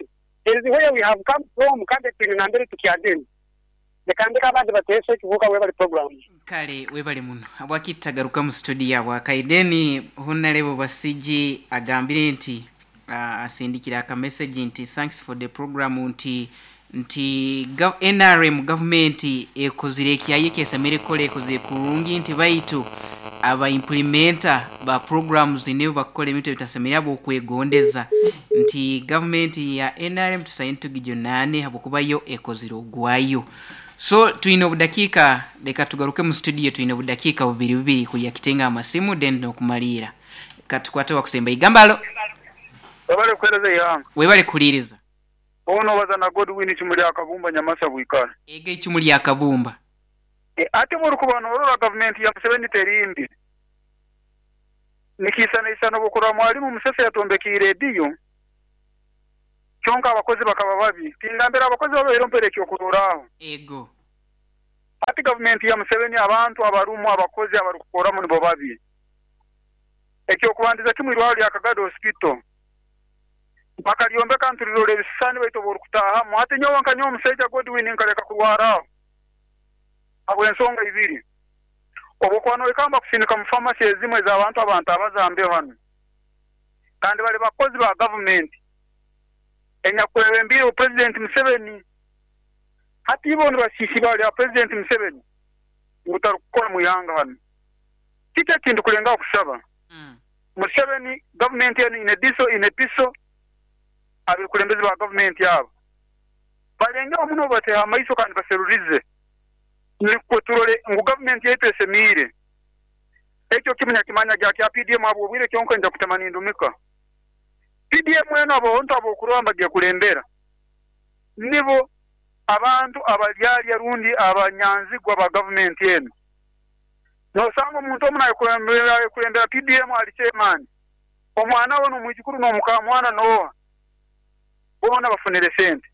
[SPEAKER 8] there is where we have come from kandi twine nambere tukyagenda. Leka ndeke abandi bateese. Ekibuuka webale program.
[SPEAKER 4] Kale webale muno. Habwaki tutagaruka mu studio abwakaire? Then Honorable Basigi agambire nti asindikire aka message nti thanks for the program nti NRM government ekozire ekyaye ekyesemere kukora ekozire kurungi nti baitu aba implementer ba programs nibo bakukora ebintu ebitasemere habw'okwegondeza nti government ya NRM tusaine tugijunaane habwokuba yo ekozire ogwayo. So twine obudakiika leka tugaruke mu studio twine obudakiika bubiri bubiri kulya kitenga amasimu then n'okumaliira. Katukwate wakusemba igamba alo.
[SPEAKER 9] Webale kuhereza eihanga.
[SPEAKER 4] Webale kuhuliiriza.
[SPEAKER 9] Ono obaza na Godwin Icumu lya Kabumba Nyamasa Bwikara.
[SPEAKER 4] Ego Icumu lya Kabumba.
[SPEAKER 9] Ati bw'orukuba noorora gavumenti ya Museveni teri mbi. Nikiisanaisana obwokurora Mwalimu Musese yatwombekiire rediyo, kyonka abakozi bakaba babi. Tingambira abakozi babaire ompere ekyokuroraaho.
[SPEAKER 4] Ego.
[SPEAKER 9] Hati gavumenti ya Museveni abantu abarumu abakozi abarukukoramu nibo babi. Ekyokubandiza kimu irwarro lya Kagadi Hospital bakalyombeka nturirora ebisisani baitu obworukutaahamu hati nyowe nka nyowe omusaija Godwin nkaleka kurwaraaho habw'ensonga ibiri. Obwokuba noikamba kusindika mu famasi ezimu ez'abantu abantabaza mbeho hanu kandi bali bakozi ba gavumenti enyakwebembiirwe Purezidenti Museveni. Hati ibo nibasiisa ibara lya Purezidenti Museveni ngu tarukukora mu ihanga hanu. Kiki eki ndukulengaho kusaba? Museveni, gavumenti enu ine diso ine piso, abekulembezi ba gavumenti abo balengeho muno bateho amaiso kandi baserurize nukwo turole ngu gavumenti yaitu esemiire. Ekyo kimu nyakimanya gya kya PDM habw'obwire kyonka nja kutema nindumika. PDM enu abantu ab'okurora mbagekulembera nibo abantu abalyalya rundi abanyanzigwa ba gavumenti enu. Nosanga omuntu omu nayekulembera PDM ali chairman, omwana we n'omwijukuru n'omukamwana n'oha, boona bafunire sente.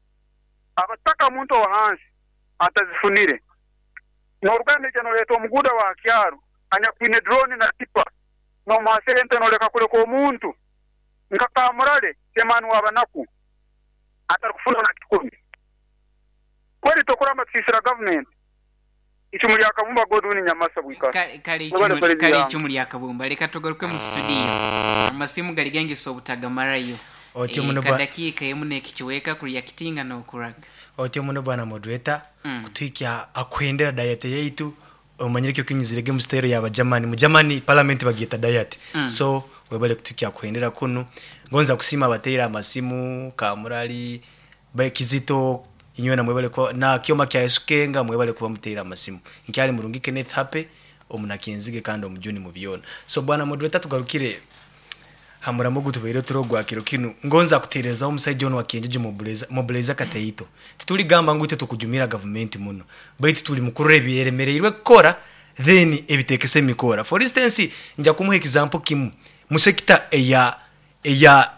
[SPEAKER 9] Abataka omuntu owa hansi atazifunire. Noruga naija noleeta omuguuda wa ha kyaro anyakwine drone na tipa nomuha sente noleka kuleka omuntu nka Kamurale chairman w'abanaku atarukufuna na kikumi. Kweri tokuramba tusiisira gavumenti. Icumu lya Kabumba Godwin Nyamasa bwikara.
[SPEAKER 4] Kale kale
[SPEAKER 9] Webale
[SPEAKER 4] icumu
[SPEAKER 9] kuheereza
[SPEAKER 4] kale
[SPEAKER 9] ihanga.
[SPEAKER 4] icumu lya Kabumba leka tugaruke mu studio. Amasimu gali gengisa obutagamarayo.
[SPEAKER 3] Otyo muno ba
[SPEAKER 4] Kadakiika emu n'ekichweka kureactinga n'okuraga.
[SPEAKER 3] Otyo muno bwana moderator kutuhikya akuhendera diet yaitu omanyire ekyo kinyizirege mu style ya Bagermany. Mu Germany parliament bagyeta diet. So webale kutuhikya akuhendera kunu. Ngonza kusiima abateire amasimu Kamurali, Kizito inywena mwebale kuba na Kyoma kya Yesu Kenga mwebale kuba muteire amasimu. Nkyali murungi Kenneth Happy omunakenzige kandi omujuni mu byona. So bwana moderator tugarukire ha muramo ogu tubaire turi ogwa kiro kinu. Ngonza kuteerezaho omusaija onu wa Kienjojo mobilizer Kateito. Tituligamba ngu itwe tukujumira gavumenti muno, baitu turi mukurora ebyeremereirwe kukora then ebitekese emikora. For instance, nja kumuha example kimu mu sector eya eya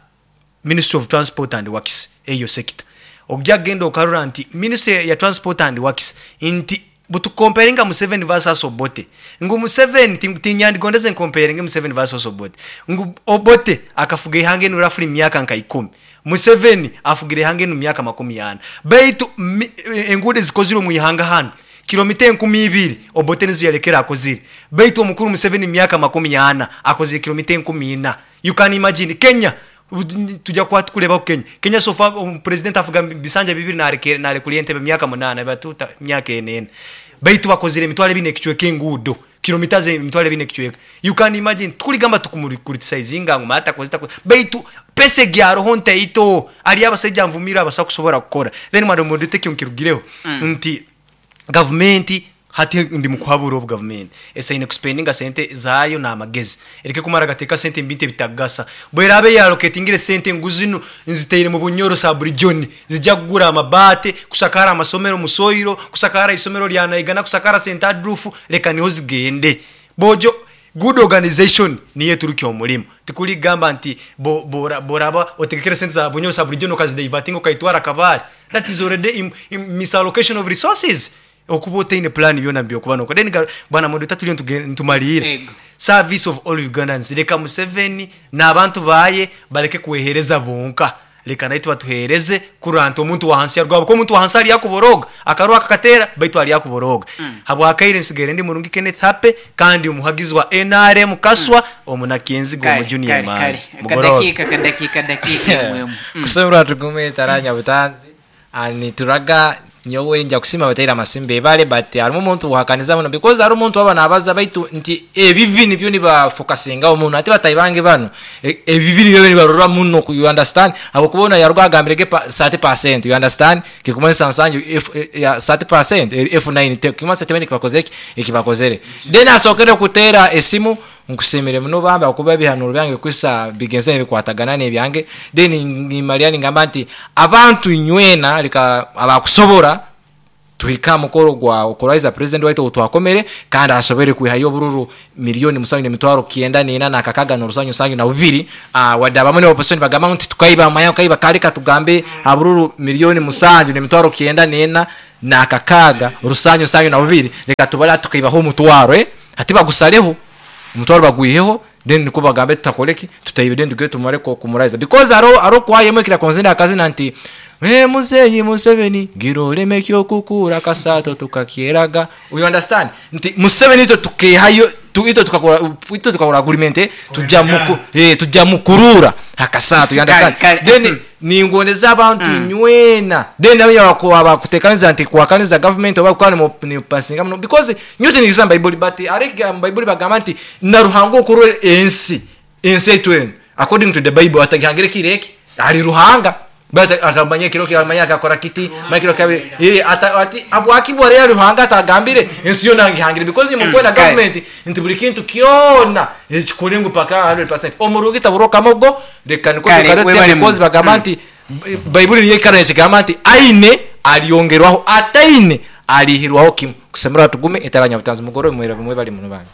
[SPEAKER 3] Ministry of Transport and Works eyo sector. Ogya genda okarora nti Ministry ya Transport and Works nti butukomparinga Museveni versus Obote ngu Museveni tinyandigondeze nkomparinge Museveni versus Obote ngu Obote akafuga eihanga enu roughly myaka nka ikumi Museveni afugire eihanga enu myaka makumi ana baitu enguudo ezikozirwe omu ihanga hanu kilomita enkumi ibiri Obote nizo yalekere akozire baitu omukuru Museveni myaka 40 akozire kilomita 4,000. You can imagine Kenya tujya kuba tukurebaho Kenya. Kenya so far president afuga bisanja bibiri narekura entebe myaka 8 batuta myaka ena. Baitu bakozire emitwaro ebiri n'ekicweka enguudo kilomita ze emitwaro ebiri n'ekicweka. You can imagine tukurigamba tukumuricriticizinga ngu mara takoze takoze baitu pesa egyaroho ntaito ari abasaija nvumire abasa kusobora kukora. Then madam moderator ekyo nkirugireho nti gavumenti hati ndi mukuhabura obu gavumenti esaine kuspendinga sente zaayo n'amagezi ereke kumara gateeka sente omu bintu ebitakugasa. Bweraabe yaloketingire sente ngu zinu nzitaire mu Bunyoro sub-region zija kugura amabaate, kusakaara amasomero mu soilo, kusakaara isomero rya Naigana, kusakaara St Adolf, leka niho zigende. Bojo good organization niyo eturukya omurimo. Tikuri kugamba nti bworaba otegekere sente za Bunyoro sub-region okazidivertinga okaitwara Kabale, that is already misallocation of resources. Okuba otaine plan byona byokuba nokora. Then bwana moderator turiyo nitumariira. Service of all Ugandans leka Museveni n'abantu baye baleke kwehereza bonka. Leka naitwe batuhereze kurora nti omuntu wa hansi yarugwa ahabw'okuba omuntu wa hansi ari akuboroga. Akaroho akakateera baitu ari akuboroga. Habwakaire nsigaire ndi murungi Kenneth Happy kandi omuhagizi wa nrm Kaswa omunakenziga
[SPEAKER 4] Kale,
[SPEAKER 3] omu Junior
[SPEAKER 4] kale, kale.
[SPEAKER 3] Emanzi. Mugoroobe.
[SPEAKER 4] Akadakiika, akadakiika, dakiika emu emu.
[SPEAKER 1] Kusemererwa tugume taranya butanzi nituraga nyowe nja kusiima abataire amasimba ebare but harimu omuntu owahakaniza muno because hariho omuntu aba nabaza baitu nti ebibi nibyo nibafokasingaho muno hati batahi bange banu ebibi nibyo nibarora muno you understand habwokuba onu yaruga agambire ge 30% you understand kikumanyisa nsanju F, ya 30% F9 kikumanyisa tibaine ekibakozire ki ekibakozere then asookere kuteera esimu Nkusiimire muno bambi ahabw'okuba ebihanuuro byange kwisa bigenzire nibikwatagana n'ebyange. Then nimalira ningamba nti abantu inywena leka abakusobora Tuhika aha mukoro gwa okuraiza president waitu ou twakomere kandi asobere kwihayo obururu 7,994,672. Wadde abamwe ne opposition bagamba ngu titukaiba, amanya kaiba kale katugambe abururu 7,946,772, leka tubale tukaibaho omutwaro, hati bagusareho omutwaro bagwiheho, then nikwo bagambe tutakoreki tutaibe, then tugende tumare kumuraiza because hariho kwayemu ekira konzenda akazina nti muzeyi Museveni gira oleme kyokukura kasato tukakyeraga. You understand nti Museveni itwe tukehayo itwe tukakora, itwe tukakora agreement tujja muku tujja mukurura akasato, you understand?
[SPEAKER 4] Kale, kale.
[SPEAKER 1] Then ningondeza abantu nywena, then nabo abakutekaniza nti kuwakaniza government oba kukana ni pasinga muno because nyote nigisa Bible, but areke Bible bagamba nti na Ruhanga okurura ensi etwenu according to the Bible atagihangire kireki ali Ruhanga, but akamanya kiro kyamanya akakora kiti makiro kabe ati abwakibwa rero Ruhanga atagambire ensi yona ngihangire because ni mukwenda government nti buli kintu kyona ekikulingu paka 100% omurungi taburoka mogo leka niko tukarete because bagamba nti Bible niyo ikara ekigamba nti aine aliongerwaho ataine alihirwaho kimu kusemera tugume etaranya butanzi mugoro mwera bimwe bali muno bana.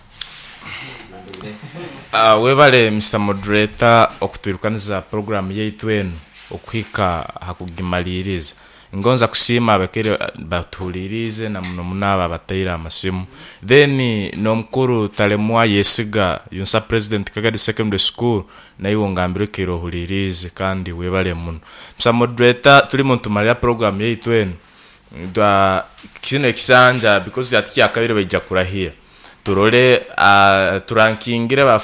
[SPEAKER 2] Webale Mr. Moderator okutwirukaniza program yaitu eno okuhika hakugimaliriza. Ngonza kusiima abakere batuhulirize na muno munaba bataira amasimu. Then nomukuru Talemwa Yesiga Yunsa President Kagadi Secondary School naiwe ngambire kero hulirize kandi webale muno. Mr. Moderator tuli muntu maria program yaitu eno dwa kino ekisanja because ati yakabire baija kurahira. Turole turankingire ba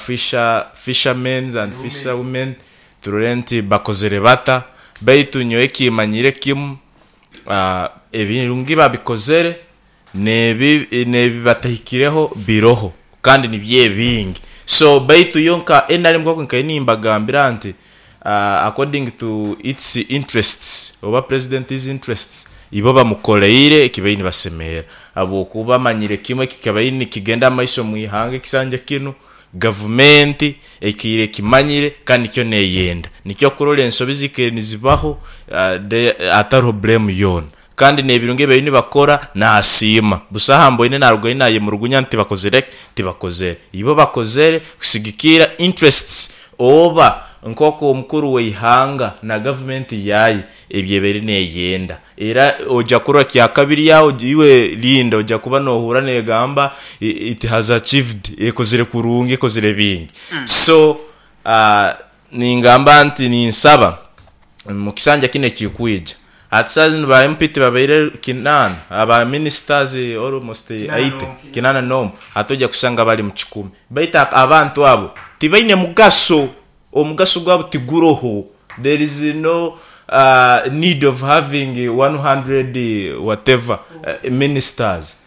[SPEAKER 2] fishermen and fisherwomen turole nti bakozere bata baitu nyowe kimanyire kimu ebirungi babikozere nebi batahikireho biroho kandi nibye bingi. So baitu yonka enali mukoko nkainimbagambira nti according to its interests oba president's interests ibo bamukoleire ekibaini basemera abo kuba manyire kimwe kikabaini kigenda maiso muihanga kisanja kino government ekire kimanyire kandi kyo neyenda nikyo kurole ensobi zikere nizibaho ataro blame yona kandi nebirunge bayini bakora nasima busaha mboine narugaina ye murugunya nti bakozere tibakozere ibo bakozere kusigikira interests oba nkoko omukuru weihanga na government yayi ebyeberi neyenda era oja kurwa kya kabiri yawo iwe linda oja kuba nohura negamba it has achieved ekozere kurungi ekozere bingi. So ningamba nti ninsaba mu kisanja kine kikuija atsazi ba MP babaire kinana aba ministers almost 8 kinana no atoja kusanga bali mu 10 baita abantu abo tibaine mugaso omugaso gwabo tiguroho. There is no need of having 100 whatever ministers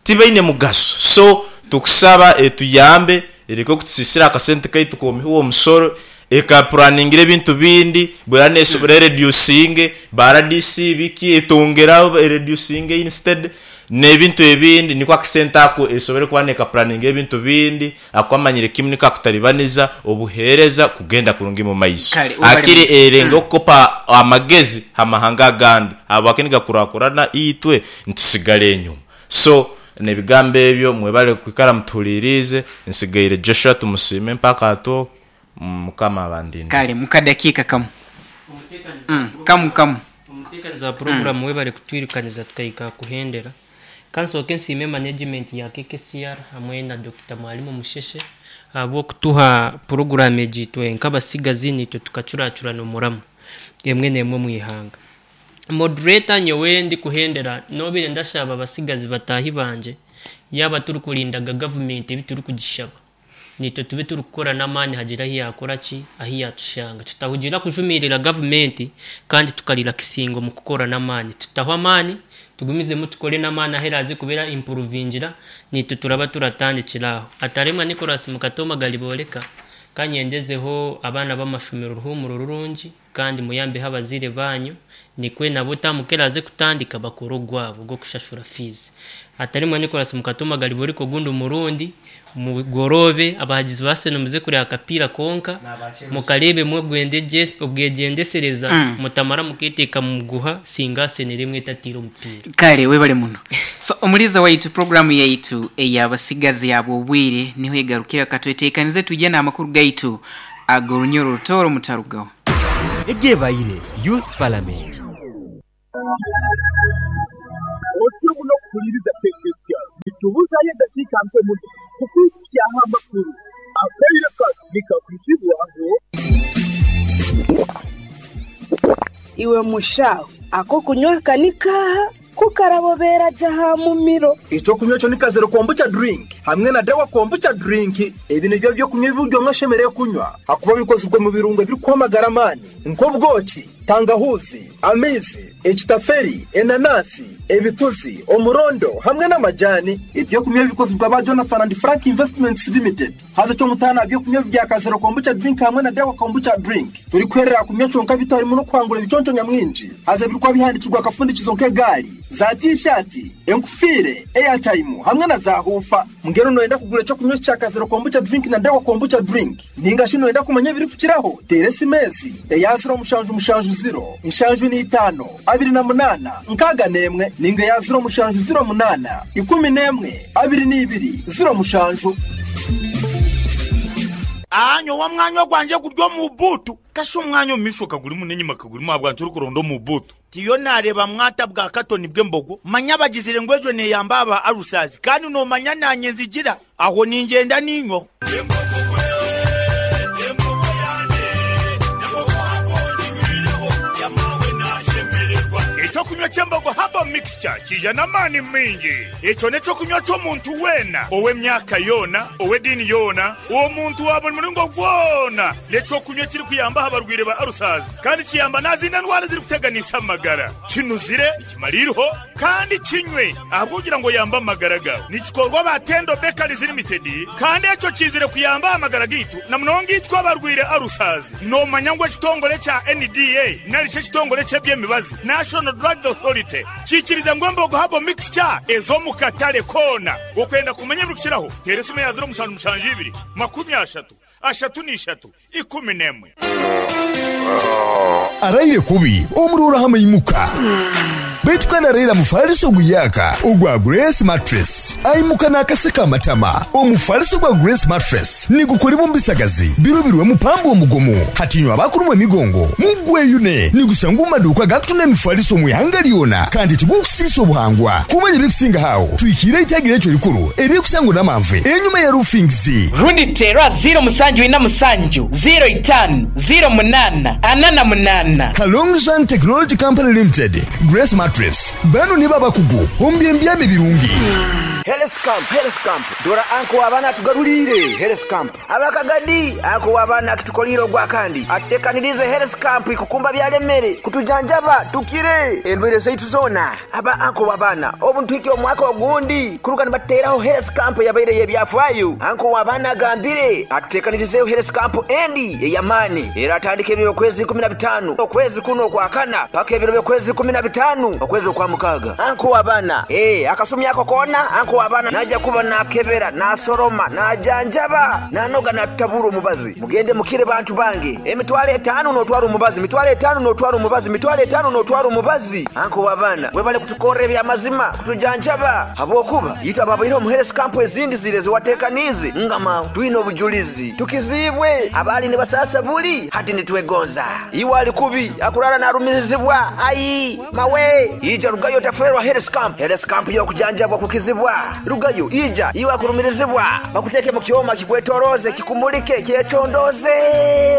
[SPEAKER 2] tibaine mugaso. So tukusaba etuyambe eriko kutusisira akasente kaitu komihuo omusoro ekaplanningira ebintu bindi bwerane sobre reducing baradisi biki etongera reducing instead nebintu ebindi niko akasente ako esobere kuba neka planning ebintu bindi akwamanyire kimwe nikakutalibaniza obuhereza kugenda kurungi mu maiso akiri erenga okukopa amagezi amahanga gandi abakiniga kurakurana itwe ntusigale enyuma. So nebigambe ebyo mwebale kwikara mutulirize nsigaire Joshua tumusime mpaka ato mukama abandinde.
[SPEAKER 4] Kale mukadakika kamu kamu
[SPEAKER 5] omutekaniza program webale kutwirukaniza tukaika kuhendera. Kansoke nsime management ya KKCR hamwe na Dr. Mwalimu Musheshe abo kutuha program ejitwe nkabasigazi nitwe tukacuracurana omuramu emwe nemwe mwihanga. Moderator nyowe ndi kuhendera nobire ndashaba abasigazi batahi banje yaba turi kulindaga government ebituri kugishaba nitwe tube turi kukora n'amaani hagira ahi yakora ki ahi yatushanga tutahugira kujumirira government kandi tukarira kisingo mu kukora n'amaani tutaho amaani tugumizemu tukore n'amaani aheraze kubera improvingira nitwe turaba turatandikiraho. Ataremwa Nicholas Mukatoma galiboleka kanyendezeho abana b'amashomero ruhumuro rurungi kandi muyambe habazire banyu Nikwe nabo taamu ku eraaze kutandika bakore ogwabo ogw'okushashura fiizi. Hatarimu Nicholas Mukatuma gariba ogundi murundi mugoroobe abahagizi ba Arsenal muze kureeba akapiira konka mukareebemu obwegyendesereza mutamara muketeeka mu muguha singa Arsenal emwe etatiire omupiira.
[SPEAKER 4] Kale webale muno. So omuliza waitu programu yaitu ey'abasigazi ab'obwire niho egarukira katweteekanize twije n'amakuru gaitu ag'orunyoro orutooro mutarugaho.
[SPEAKER 10] Egyebaire Youth Parliament.
[SPEAKER 11] Otyo muno okuhuliriza Pekesia. Nitubuzayo edakiika mpe muno kukwikyaho amakuru. Akaire kanu nikakwizibwaho.
[SPEAKER 12] Iwe mushaho, ak'okunywa aka ni kaaha? Ku karabobeera gye aha mumiro.
[SPEAKER 11] Eky'okunywa ekyo ni Kazero Kombucha Drink hamwe na Dawa Kombucha Drink. Ebi nibyo by'okunywa ebi buri omwe ashemereire kunywa ahakuba bikozirwe mu birungo ebirikuha amagara amaani nk'obwoki, tangahuuzi, amaizi, ekitaferi, enanasi, ebituzi, omurondo hamwe n'amajani. Eby'okunywa bikozirwe aba Jonathan and Frank Investments Limited. Haza eky'omutaano aha by'okunywa bya Kazero Kombucha Drink hamwe na Dawa Kombucha Drink, torikuherera kunywa kyonka beitu harimu n'okuhangura ebiconco nyamwingi. Haza ebirikuba bihandiikirwe akafundikizo nk'egaari, za tiishaati, enkufiire, eyataimu hamwe na zaahuufa. Mbwenu nooyenda kugura eky'okunywa eki kya Kazero Kombucha Drink na Dawa Kombucha Drink? Nainga shi nooyenda kumanya ebirikukiraho? Teera esimu ezi, eya ziro mushanju mushanju ziro, nshanju n'eitaano, abiri na munaana, nkaaga n'emwe, nainga eya ziro mushanju ziro munaana, ikumi n'emwe, abiri n'ibiri, ziro mushanju.
[SPEAKER 13] Aa nyowe omwanya ogwangye guri omu buutu. Kashi omwanya omu maisho kagurimu n'enyima kagurimu ahabwanki orikuronda omu buutu? Tiyo naareeba mwata bwa katoni bw'embogo. Manya bagizire ngu egyo neeyamba aba alusazi kandi noomanya naanye nzigira aho ningyenda niinywaho.
[SPEAKER 14] Eky'okunywa ky'embogo Herbal Mixture kiija n'amaani maingi. Ekyo n'eky'okunywa ky'omuntu weena, ow'emyaka yoona, ow'ediini yoona, omuntu wa buri muringo gwona. N'eky'okunywa ekirikuyamba aha barwaire ba alusazi kandi kiyamba n'aha zindi ndwara ezirikuteganisa amagara. Kinuzire, nikimara eiriho kandi kinywe ahabw'okugira ngu oyambe amagara gaawe. Nikikorwa aba Tendo Bakeries Limited kandi ekyo kiizire kuyamba aha magara gaitu na munonga itwe abarwaire alusazi. Noomanya ngu ekitongore kya NDA nari shi ekitongore ky'eby'emibazi, National Drugs Authority, kiikirize ngu embogo Herbal Mixture eze omu katare koona. Okwenda kumanya ebirikukiraho, teera esimu ya ziro mushanju mushanju ibiri, makumi ashatu, ashatu na ishatu, ikumi n'emwe.
[SPEAKER 15] Araire kubi omurooro amaimuka. Beitu kandi araire amufaliso oguyaaka ogwa Grace Mattress. Aimuka n'akaseko amatama. Omufaliso gwa Grace Mattress nigukolebwa omu bisagazi birubirwemu pamba omugumu. Hati inywe abakurumwa emigongo mugweyune. Nigusangwa omu maduuka agakutunda emifaliso omu ihanga lyona kandi tigukusiisa obuhangwa. Kumanya ebirikusingaho aho, twikiire eitagi lyaitu erikuru eririkusangwa Namanve enyuma ya Roofings.
[SPEAKER 16] Rundi teera ziiro musanju ina musanju, ziiro itaanu, ziiro munaana, ana na munaana.
[SPEAKER 15] Kalongzhan Technology Company Limited, Grace Mattress, banu nibo abakugu omu by'embyama ebirungi.
[SPEAKER 17] Health Camp, Health Camp, Dora anko w'abaana atugaruriire Health Camp. Aba Kagadi, anko w'abaana akitukoliire ogwakandi, atutekaniriize Health Camp kukumba byalemere, kutujanjaba tukire endwaire zaitu zoona. Aba anko w'abaana, obu nituhikya omwaka ogundi kuruga nibatuteraho Health Camp eyabaire ey'ebyafaayo. Anko w'abaana agambire atutekanirizeeho Health Camp endi ey'amaani eratandika ebiro by'okwezi 15 okwezi kunu okwakana paka ebiro by'okwezi 15 okwezi okwamukaaga. Anko w'abaana, Ee, akasumi ako koona anko w'abaana naija kuba naakebera, naasoroma, naajanjaba, naanoga naatutabura omubazi. Mugende mukire bantu bange. Emitwalo etaano n'otwara omubazi, mitwalo etaano n'otwara omubazi, mitwalo etaano n'otwara omubazi. Anko w'abaana, webale kutukorra eby'amazima, kutujanjaba, habwokuba itwe ababaire omu health camp ezindi ziri ezi wateekaniize, ngama twine obujulizi. Tukiziibwe, abaali nibasaasa buli, hati nitwegonza. Iwe ali kubi, akuraara naarumirizibwa, ai, mawe! Ija rugayo otafeerwa health camp. Health camp y'okujanjabwa kukizibwa. Rugayo, ija, iwe akurumirizibwa, bakuteeke mu kyoma kikwetoroze, kikumulike, kyecondooze.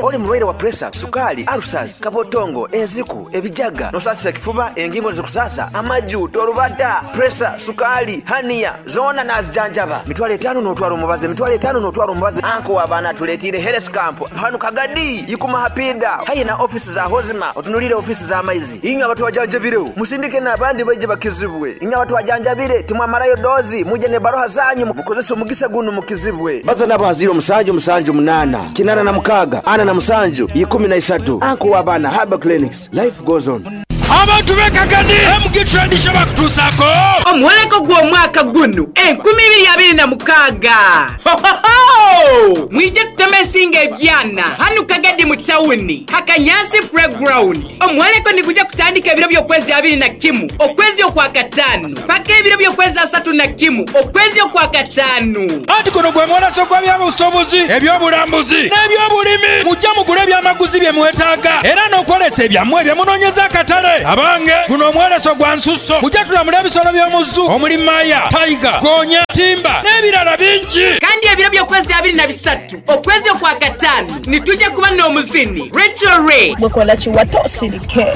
[SPEAKER 17] Oli murwaire wa puresa, sukaali, alusazi, kabotongo, enziku, ebijaga, nosaasisa ekifuba, engingo nizikusasa, amaju, torubata, puresa, sukaali, haniya, zoona naazijanjaba. Mitwalo etaano n'otwara omubazi, emitwalo etaano n'otwara omubazi. Anko w'abaana atuleetiire health camp hanu Kagadi, Ikuma Hapiida, haihi na ofiisi za Hozima, otunuliire ofiisi z'amaizi. Inywe abatwajanjabireho, musindike n'abandi baije bakizibwe. Inywe abatwajanjabire, timwamarayo doozi, mwije n'ebaruha zanyu mukozese omugisa gunu mukizibwe.
[SPEAKER 18] Baza nabo ha ziiro musanju musanju munaana, kinaana na mukaaga, ana na musanju, ikumi na isatu. Anko w'abaana Herbal Clinics, life goes on.
[SPEAKER 19] Abantu b'e Kagadi, MG Trade Show bakutuusaako.
[SPEAKER 16] Omwoleko gw'omwaka gunu 2026! Hohoho! Mwije tuteme ensingo ebyana hanu Kagadi mu tawuni ha Kanyansi Playground. Omwoleko nigugya kutandika ebiro by'okwezi abiri na kimu okwezi okwakataanu paka ebiro by'okwezi asatu na kimu okwezi okwakataanu.
[SPEAKER 19] Anti guno gwe mwoleso gw'ebyobusuubuzi, eby'obulambuzi n'eby'obulimi. Mujje mugule ebyamaguzi bye mwetaaga era n'okwolesa ebyammwe bye munoonyeza akatale. Abange, guno omwoleso gwa nsusso. Mujje tulamule ebisolo by'omu zoo omuli maya, tiger, goonya, timba n'ebirala bingi.
[SPEAKER 16] Kandi ebiro by'okwezi abiri na bisatu okwezi okwakataanu nitwija kuba n'omuzini Rachel Ray.
[SPEAKER 20] Gwe kola kiwato osirike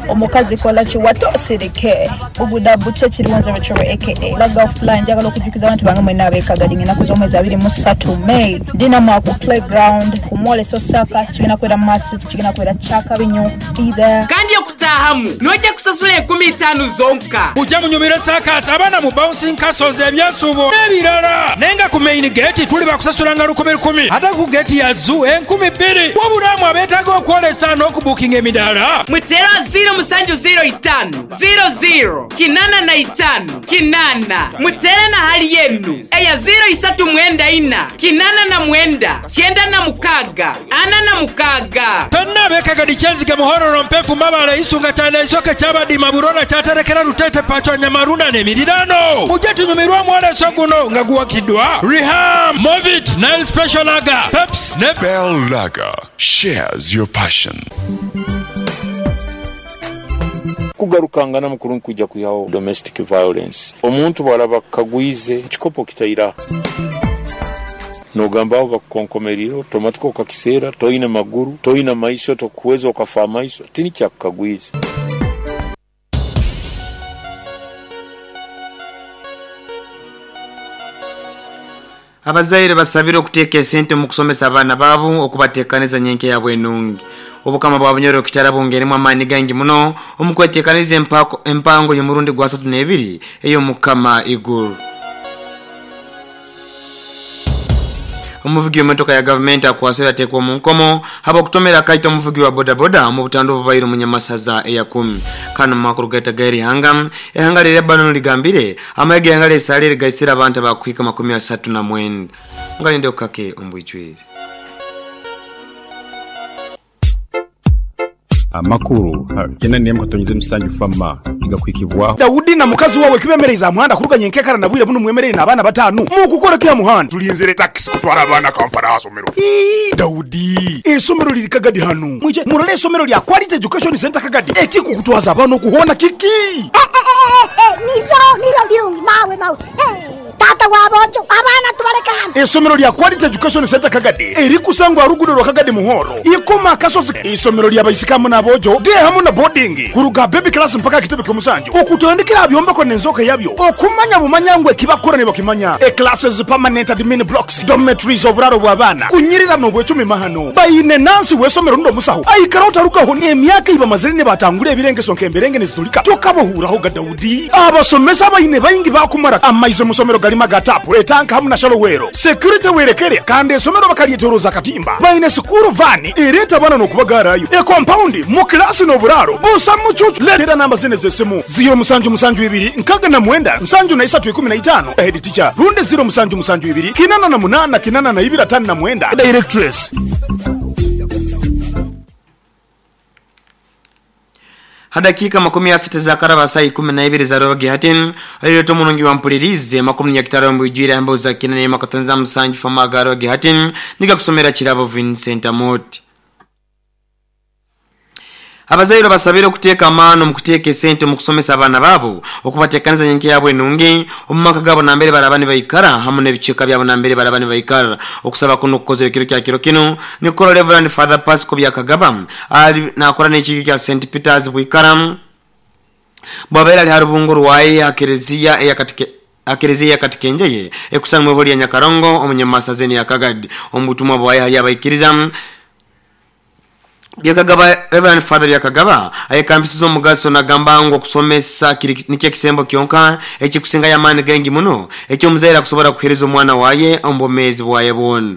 [SPEAKER 20] Omukazi kola kiwato osirike Buguda butya ekiriwo nze Rachel Ray aka Laga Fly njagala okujukiza abantu bange mwenna ab'e Kagadi ng'ennaku z'omwezi 23 May ndi nammwe ku playground ku mwoleso circus kigenda kubeera massive kigenda kubeera kyakabi nnyo be there.
[SPEAKER 16] Kandi okutaahamu noija kusasula enkumi itaanu zonka.
[SPEAKER 19] Mujje munyumirwe circus, abaana mu bouncing castles, ebyensuubo n'ebirala. Naye nga ku main gate tuli bakusasulanga lukumi lukumi ate ku gate ya zoo 2000. Wabula mwe abeetaaga okwolesa n'okubuukinga emidaala.
[SPEAKER 16] Muteere aha ziiro musanju ziiro itaanu, ziiro ziiro, kinaana na itaanu, kinaana. Muteere na hali enu eya ziiro isatu mwenda ina, 89, 96, 46.
[SPEAKER 19] Fenna ab'e Kagadi, Kyenzige, Muhororo, Mpefu, Mabale, Isunga, Kyana, Isoke, Kyabadima, Burora, Kyaterekera, Luteete, Pachwa, Nyamarunda n'emiriraano mujje tunyumirwe omwoleso guno nga guwagiddwa Riham, Movit, Nile Special Lager, Pepsi ne
[SPEAKER 21] Bell Lager shares your passion.
[SPEAKER 22] Kugarukangana mukuru nikwija kwihaho domestic violence. Omuntu bwaraba akukagwize ekikopo kitaira nogamba aho bakukonkomerire otomatiko okakiseera toine maguru toine maiso tokuhweza okafa amaiso tinikyakukagwize.
[SPEAKER 23] Abazaire basabirwe okuteeka esente omu kusomesa abaana baabo okubateekaniza nyenkya yaabo enungi. Obukama bwa Bunyoro Kitara bwongeiremu amaani gaingi muno omu kweteekaniza empango y'omurundi gwa asatu n'ebiri ey'Omukama Iguru. Omuvugi w'emotoka ya gavumenti akwasirwe yateekwa omu nkomo habw'okutomera akaita omuvugi wa bodaboda omu butandu obubaire omu Nyamasaza eyakumi. Kanu mu makuru gaitu ag'erihanga, eihanga lya Lebanon ligambire amahe g'eihanga lya Isiraeli gaisire abantu abakuhika 39. Ngalinde kukake omu bwijwire.
[SPEAKER 24] Amakuru 8.7 FAMA nigakuhikibwaho.
[SPEAKER 25] Daudi na mukazi wawe kibemereize aha muhanda kuruga nyenkekara na bwire bunu mwemereire n'abaana batanu mukukora ki aha muhanda?
[SPEAKER 26] Tulinzire takisi kutwara abaana Kampala aha somero.
[SPEAKER 25] Ii Daudi, eisomero riri Kagadi hanu. Mwije murore eisomero rya Quality Education Centre Kagadi. Ekikukutwaza abaana oku hoona kiki?
[SPEAKER 27] Niryo niryo birungi mawe mawe. Taata wa boojo, abaana tubaleke hanu.
[SPEAKER 25] Eisomero lya Quality Education Centre Kagadi erikusangwa aha ruguudo rwa Kagadi Muhoro, Ikoma Akasozi. Eisomero lya baisiki hamu n'aboojo, day hamu na boarding, kuruga aha baby class mpaka aha kitebe ky'omusanju, okutandikira aha byombeko n'enzooka yabyo, okumanya bumanya ngu eki bakukora nibakimanya. E Classes, permanent admin blocks, dormitories, oburaaro bw'abaana, kunyirira n'obwecumi mahano. Baine nansi w'eisomero rundi omusaho aikara otarugaho n'emyaka ei bamazire nibatangura ebirengeso nk'emberenge nizitulika tokabahuurahoga Daudi. Abasomesa abaine baingi baakumara amaizi omu somero garimu aga taapu, etanka hamu na shalo weero. Security werekere kandi esomero bakaryetoroza akatimba. Baine sikuuru vaani ereeta abaana n'okubagaarayo. Ekompaundi mu kilaasi n'oburaaro busa mucuucu. Leetera namba zinu ez'esimu, ziiro musanju musanju ibiri nkaga na mwenda nsanju na isatu ikumi na itaano, Head teacher, rundi ziiro musanju musanju ibiri kinana na munaana kinana na ibiri atano na mwenda, Directress.
[SPEAKER 23] Ha dakiika 60 ezaakaraba ha saaha 12 eza rwebagyo hati, oireeta omurungi wa Mpulirize amakuru Nyakitara omu bwijwire aha mboozi za 8.7 FM aga rwebagyo hati nigakusomera Kirabo Vincent Amooti. Abazaire obasabire okuteeka amaani omu kuteeka esente omu kusomesa abaana baabo, okubateekaniza nyenkya yaabo enungi omu maka gaabo nambere baraaba nibaikara hamu n'ebicweka byabo nambere baraaba nibaikara. Okusaba kunu okukozerwe ekiro kya kiro kinu nikukorwa Rev. Father Pascal Byakagaba ali nakora n'ekiikyo kya St. Peters Bwikara bwabaire ali ha rubungo rwaye ha Kereziya eya ha Kereziya eya Katikenjeye ekusanwa ibwe lya Nyakarongo omu Nyamasaza enu eya Kagadi. Omu butumwa bwaye hali abaikiriza, Byakagaba, Rev. Father Byakagaba ayekambisize omugaso nagamba ngu okusomesa kiri nikyo ekisembo kyonka ekikusingayo amaani gaingi muno eky'omuzaire akusobora kuhereza omwana waye omu bwomeezi bwaye bwona.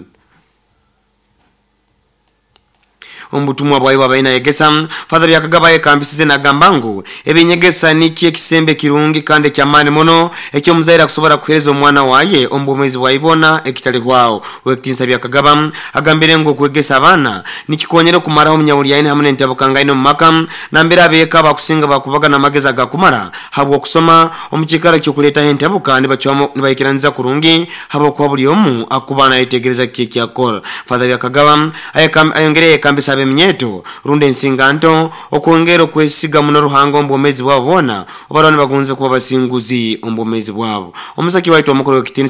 [SPEAKER 23] Omu butumwa bwayo bwabaire nayegesa, Father Byakagaba ayekambisize nagamba ngu ebinyegesa nikyo ekisembo ekirungi kandi eky'amaani muno eky'omuzaire akusobora kuheereza omwana waye omu bwomeezi bwaye bwona ekitalihwaho. Ow'ekitiinisa Byakagaba agambire ngu okwegesa abaana nikikonyera okumaraho omunyawulyaine hamu n'entabukangaine omu maka nambere abeeka bakusinga bakubaga n'amagezi agakumara habw'okusoma omu kiikaro ky'okuleetaho entabuka nibacwamu nibaikiraniza kurungi habwokuba buli omu akuba nayetegereza kiki ekyakukora. Father Byakagaba ayongere yayekambisa ab'eminyeeto rundi ensinganto okwongera okwesiga muno Ruhanga omu bwomeezi bwabo bwona obaraba nibagonza kuba basinguzi omu bwomeezi bwabo. Omusaki waitu omukuru ow'ekitiinisa.